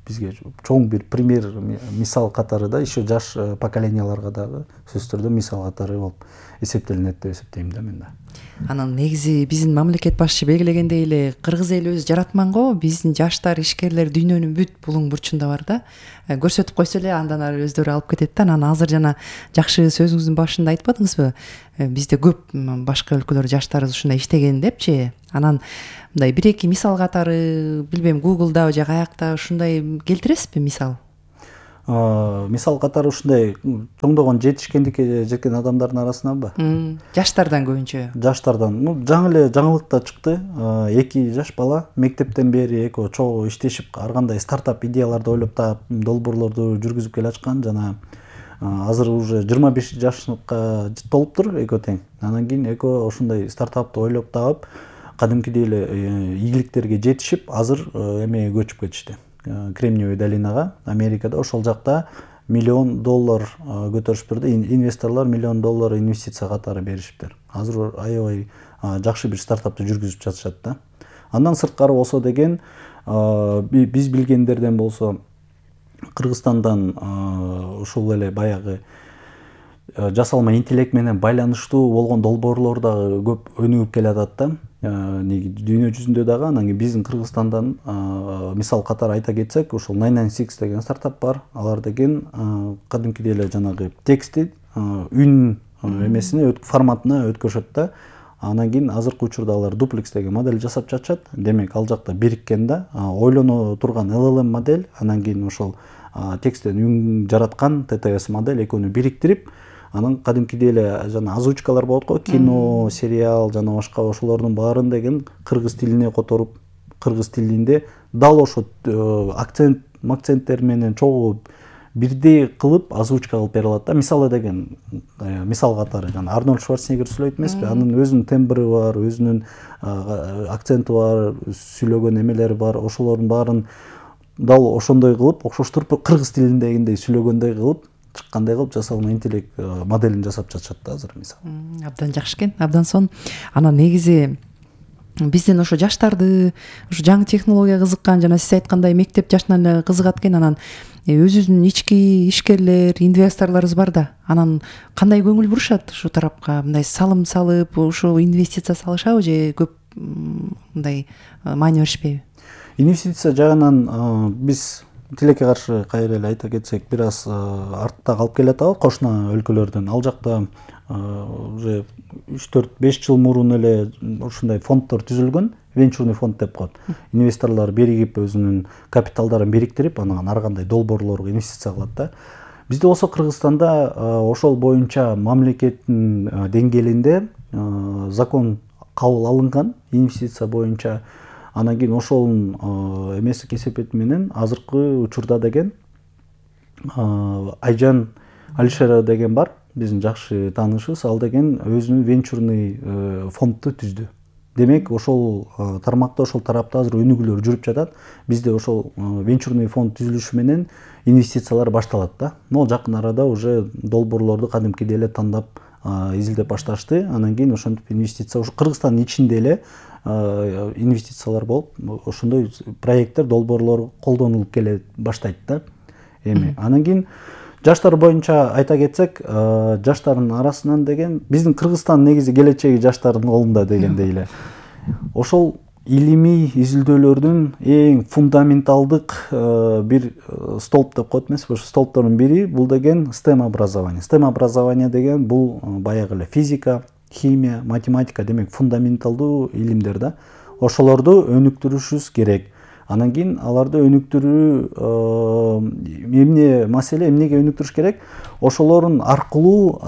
J: бизге чоң бир пример мисал катары да еще жаш поколенияларга дагы сөзсүз түрдө мисал катары болуп эсептелинет деп эсептейм да мен да.
I: Анан негизи биздин мамлекет башчы белгилегендей эле кыргыз эли өзү жаратман го, биздин жаштар, ишкерлер дүйнөнүн бүт булуң бурчунда бар да. Көрсөтүп койсо эле андан ары өздөрү алып кетет да. Анан азыр жана жакшы сөзүңүздүн башында айтпадыңызбы? Бизде көп башка өлкөлөр жаштары ушундай иштеген депчи. Анан мындай бир эки мисал катары билбейм Google'да же каякта ушундай келтиресизби мисал?
J: Мисал катары ушундай чоңдогон жетишкендикке жеткен адамдардын арасынанбы?
I: Жаштардан көбүнчө.
J: Жаштардан. Жаңы эле жаңылыкта чыкты. 2 жаш бала мектептен бери экөө чогуу иштешип, ар кандай стартап идеяларды ойлоп таап, долбоорлорду жүргүзүп келе аткан жана азыр уже 25 жашка толуптур экөө тең. Анан кийин экөө ошондой стартапты ойлоп таап, кадимкидей эле ийгиликтерге жетишип, азыр эмеге көчүп кетишти. Кремниевый долинага, Америкада, ошол жакта $1 миллион көтөрүшүптүр да, инвесторлор $1 миллион инвестиция катары беришиптир. Азыр аябай жакшы бир стартапты жүргүзүп жатышат да. Андан сырткары болсо деген, биз билгендерден болсо Кыргызстандан ушул эле баягы жасалма интеллект менен байланыштуу болгон долбоорлор дагы көп өнүгүп келатат да. Дүйнө жүзүндө дагы, анан кийин биздин Кыргызстандан мисал катары айта кетсек, ошол 996 деген стартап бар. Алар деген кадимкидей эле жанагы текстти үн эмесине форматына өткөрүшөт да. Анан кийин азыркы учурда алар дуплекс деген модель жасап жатышат. Демек ал жакта бириккен да, ойлоно турган LLM модель, анан кийин ошол тексттен үн жараткан TTS модель экөөнү бириктирип, анан кадимкидей эле жана озвучкалар болот го, кино, сериал жана башка ошолордун баарын деген кыргыз тилине которуп, кыргыз тилинде дал ошо акценттер менен чогуу бирдей кылып озвучка кылып бере алат да. Мисалы деген мисал катары жана Арнольд Шварценеггер сүйлөйт эмеспи? Анын өзүнүн тембри бар, өзүнүн акценти бар, сүйлөгөн эмелери бар. Ошолордун баарын дал ошондой кылып, окшоштуруп кыргыз тилиндегиндей сүйлөгөндөй кылып, чыккандай кылып жасалма интеллект моделин жасап жатышат да азыр мисалы.
I: Абдан жакшы экен, абдан сонун. Анан негизи биздин ошо жаштарды ошо жаңы технология кызыккан жана сиз айткандай мектеп жашынан эле кызыгат экен. Анан өзүбүздүн ички ишкерлер, инвесторлорубуз бар да. Анан кандай көңүл бурушат ушу тарапка? Мындай салым салып, ушу инвестиция салышабы же көп мындай маани беришпейби?
J: Инвестиция жагынан биз тилекке каршы кайра эле айта кетсек, бир аз артта калып келатабыз кошуна өлкөлөрдөн. Ал жакта уже 3-4-5 жыл мурун эле ушундай фонддор түзүлгөн, венчурный фонд деп коет. Инвесторлор биригип өзүнүн капиталдарын бириктирип, анан ар кандай долбоорлорго инвестиция кылат да. Бизде болсо Кыргызстанда ошол боюнча мамлекеттин деңгээлинде закон кабыл алынган инвестиция боюнча. Анан кийин ошонун эмеси кесепети менен азыркы учурда деген Айжан Алишерова деген бар, биздин жакшы таанышыбыз. Ал деген өзүнүн венчурный фондду түздү. Демек ошол тармакта, ошол тарапта азыр өнүгүүлөр жүрүп жатат. Бизде ошол венчурный фонд түзүлүшү менен инвестициялар башталат да. Могу жакын арада уже долбоорлорду кадимкидей эле тандап изилдеп башташты. Анан кийин ошентип инвестиция ушу Кыргызстандын ичинде эле инвестициялар болуп, ошондой проекттер, долбоорлор колдонулуп келе баштайт да. Анан кийин жаштар боюнча айта кетсек, жаштардын арасынан деген биздин Кыргызстан негизи келечеги жаштардын колунда дегендей эле. Ошол илимий изилдөөлөрдүн эң фундаменталдык бир столб деп коет эмеспи? Ошо столбтордун бири бул деген STEM образование. STEM образование деген бул баягы эле физика, химия, математика, демек фундаменталдуу илимдер да. Ошолорду өнүктүрүшүбүз керек. Анан кийин аларды өнүктүрүү эмнеге өнүктүрүш керек? Ошолордун аркылуу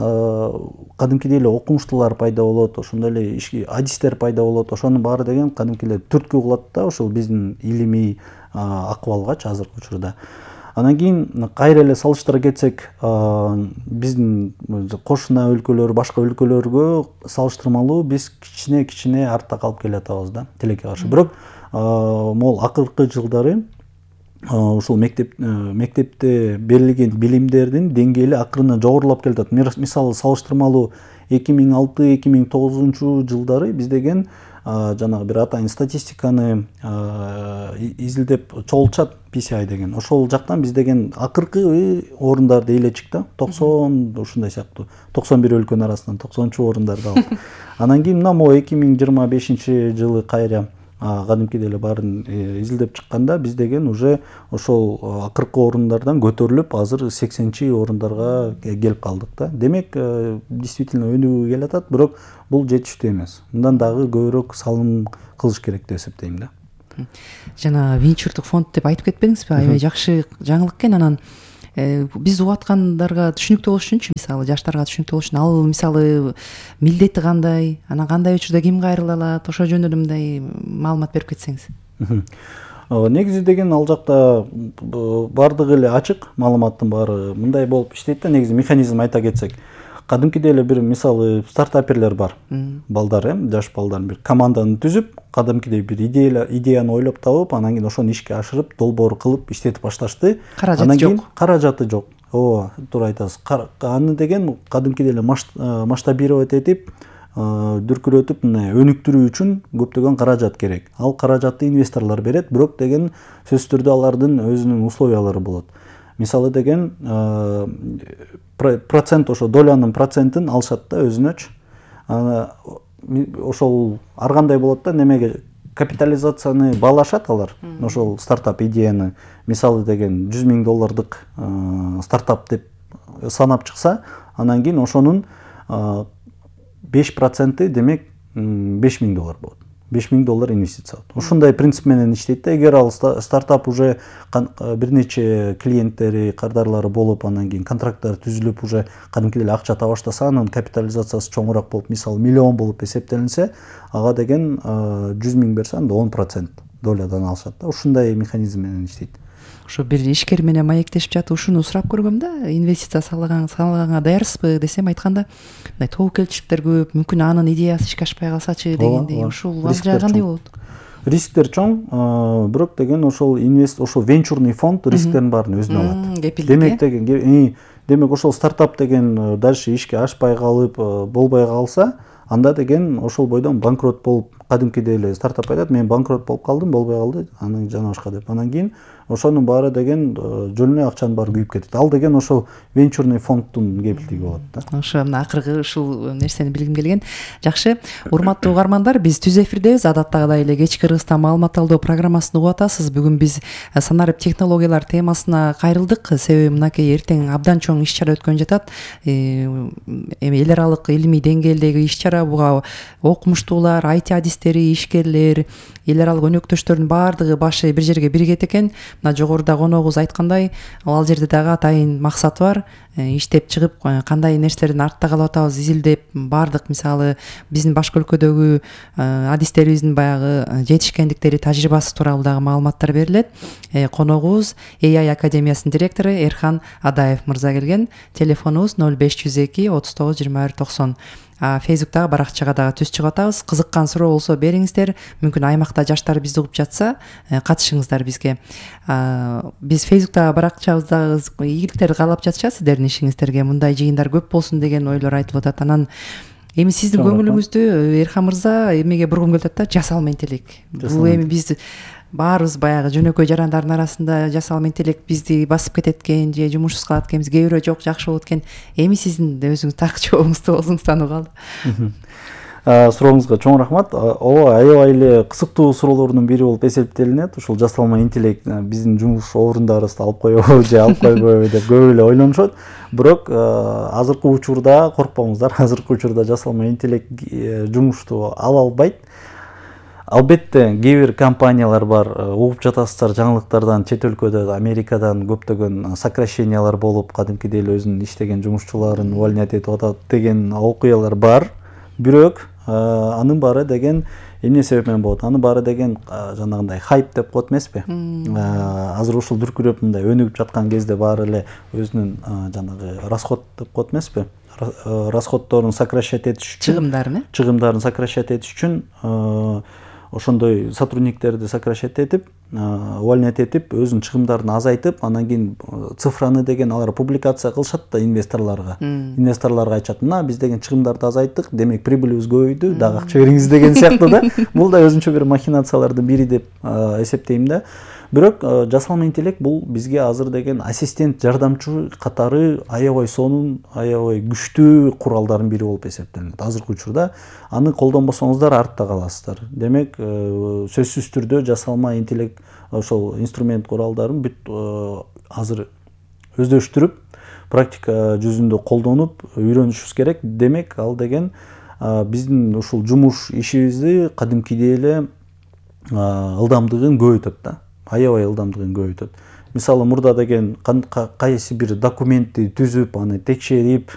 J: кадимкидей эле окумуштуулар пайда болот, ошондой эле адистер пайда болот. Ошонун баары деген кадимкидей эле түрткү кылат да ошол биздин илимий акыбалгачы азыркы учурда. Анан кийин кайра эле салыштыра кетсек, биздин кошуна өлкөлөр, башка өлкөлөргө салыштырмалуу биз кичине артта калып келатабыз да, тилекке каршы. Бирок могул акыркы жылдары ушул мектепте берилген билимдердин деңгээли акырын жогорулап келатат. Мисалы салыштырмалуу 2006-2009 жылдары биз деген жанагы бир атайын статистиканы изилдеп чогултушат PCI деген. Ошол жактан биз деген акыркы орундарда эле чыкты. 90 ушундай сыяктуу 91 өлкөнүн арасынан 90-чу орундарда алып. Анан кийин мына 2025-жылы кайра кадимкидей эле баарын изилдеп чыкканда биз деген уже ошол акыркы орундардан көтөрүлүп азыр 80-чи орундарга келип калдык да. Демек действительно өнүгүү келатат, бирок бул жетиштүү эмес. Мындан дагы көбүрөөк салым кылыш керек деп эсептейм да.
I: Жана венчурдук фонд деп айтып кетпедиңизби? Аябай жакшы жаңылык экен. Анан биз угуп аткандарга түшүнүктүү болуш үчүнчү, мисалы жаштарга түшүнүктүү болуш үчүн ал мисалы милдети кандай, анан кандай учурда ким кайрыла алат, ошо жөнүндө мындай маалымат берип кетсеңиз.
J: Негизи деген ал жакта бардыгы эле ачык, маалыматтын баары мындай болуп иштейт да. Негизи механизм айта кетсек, кадимкидей эле бир мисалы стартаперлер бар. Балдар, жаш балдар бир команданы түзүп, кадимкидей бир идеяны ойлоп табып, анан кийин ошону ишке ашырып, долбоор кылып иштетип башташты.
I: Каражаты жок.
J: Каражаты жок. Ооба, туура айтасыз. Аны деген кадимкидей эле масштабировать этип, дүркүрөтүп, өнүктүрүү үчүн көптөгөн каражат керек. Ал каражатты инвесторлор берет, бирок деген сөзсүз түрдө алардын өзүнүн условиялары болот. Мисалы деген процент, ошо долянын процентин алышат да өзүнөчү. Ошол ар кандай болот да, немеге капитализацияны баалашат алар. Ошол стартап идеяны мисалы деген $100,000 стартап деп санап чыкса, анан кийин ошонун 5% демек $5,000 болот. $5,000 инвестиция. Ушундай принцип менен иштейт да. Эгер ал стартап уже бир нече клиенттери, кардарлары болуп, анан кийин контракттар түзүлүп, уже кадимкидей эле акча таба баштаса, анын капитализациясы чоңураак болуп, мисалы миллион болуп эсептелинсе, ага деген 100,000 берсе, анда 10% долядан алышат да. Ушундай механизм менен иштейт.
I: Ошо бир ишкер менен маектешип жатып ушуну сурап көргөм да, инвестиция салганга даярсызбы десем, айтканда мындай тобокелчиликтер көп, мүмкүн анын идеясы ишке ашпай калсачы дегендей. Ушул ал жай кандай болот?
J: Рисктер чоң, бирок деген ошол ошол венчурный фонд рисктердин баарын өзүнө алат. Демек деген демек ошол стартап деген дальше ишке ашпай калып, болбой калса, анда деген ошол бойдон банкрот болуп, кадимкидей эле стартап айтат, мен банкрот болуп калдым, болбой калды, анан жана башка деп. Анан кийин ошонун баары деген жөнүнө акчанын баары күйүп кетет. Ал деген ошол венчурный фонддун кепилдиги болот да.
I: Ошо мына акыркы ушул нерсени билгим келген. Жакшы, урматтуу угармандар, биз түз эфирдебиз. Адаттагыдай эле кечки Кыргызстан маалымат алуу программасын угуп атасыз. Бүгүн биз санарип технологиялар темасына кайрылдык. Себеби мынакей эртең абдан чоң иш-чара өткөн жатат. Эми эл аралык илимий деңгээлдеги иш-чара, буга окумуштуулар, IT адистери, ишкерлер, эл аралык өнөктөштөрдүн баардыгы башы бир жерге биригет экен. Мына жогоруда коногубуз айткандай, ал жерде дагы атайын максаты бар. Иштеп чыгып, кандай нерселердин артта калып атабыз изилдеп, баардык мисалы биздин башка өлкөдөгү адистерибиздин баягы жетишкендиктери, тажрыйбасы тууралуу дагы маалыматтар берилет. Коногубуз AI Академиясынын директору Эрхан Адаев мырза келген. Телефонубуз 0502 39 21 90. Фейсбуктагы баракчага дагы түз чыгып атабыз. Кызыккан суроо болсо бериңиздер. Мүмкүн аймакта жаштар бизди угуп жатса, катышыңыздар бизге. Биз Фейсбуктагы баракчабызда ийгиликтерди каалап жатышат сиздердин ишиңиздерге. Мындай жыйындар көп болсун деген ойлор айтылып атат. Анан эми сиздин көңүлүңүздү Эрхан мырза эмеге бургум келип атат да, жасалма интеллект. Бул эми биз баарыбыз баягы жөнөкөй жарандардын арасында жасалма интеллект бизди басып кетет экен, же жумушсуз калат экенбиз, кээ бирөө жок, жакшы болот экен. Эми сиздин өзүңүз так жообуңузду болсуңуздан угалы.
J: Сурооңузга чоң рахмат. Ооба, аябай эле кызыктуу суроолордун бири болуп эсептелинет. Ушул жасалма интеллект биздин жумуш орундарыбызды алып коебу же алып койбойбу деп көп эле ойлонушот. Бирок азыркы учурда коркпоңуздар, азыркы учурда жасалма интеллект жумушту ала албайт. Албетте кээ бир компаниялар бар, угуп жатасыздар жаңылыктардан, чет өлкөдө, Америкадан көптөгөн сокращениялар болуп, кадимкидей эле өзүнүн иштеген жумушчуларын увольнять этип атат деген окуялар бар. Бирок анын баары деген эмне себеп менен болот? Анын баары деген жанагындай хайп деп коет эмеспи? Азыр ушул дүркүрөп мындай өнүгүп жаткан кезде баары эле өзүнүн жанагы расход деп коет эмеспи? Расходдорун сокращать этиш үчүн, чыгымдарын сокращать этиш үчүн ошондой сотрудниктерди сокращать этип, увольнять этип өзүнүн чыгымдарын азайтып, анан кийин цифраны деген алар публикация кылышат да инвесторлорго айтышат, мына биз деген чыгымдарды азайттык, демек прибылибиз көбөйдү, дагы акча бериңиз деген сыяктуу да. Бул да өзүнчө бир махинациялардын бири деп эсептейм да. Бирок жасалма интеллект бул бизге азыр деген ассистент, жардамчы катары аябай сонун, аябай күчтүү куралдардын бири болуп эсептелет. Азыркы учурда аны колдонбосоңуздар артта каласыздар. Демек, сөзсүз түрдө жасалма интеллект ошол инструмент куралдарын бүт азыр өздөштүрүп, практика жүзүндө колдонуп үйрөнүшүбүз керек. Демек, ал деген биздин ушул жумуш ишибизди кадимкидей эле ылдамдыгын көбөйтөт да. Аябай ылдамдыгын көбөйтөт. Мисалы, мурда деген кайсы бир документти түзүп, аны текшерип,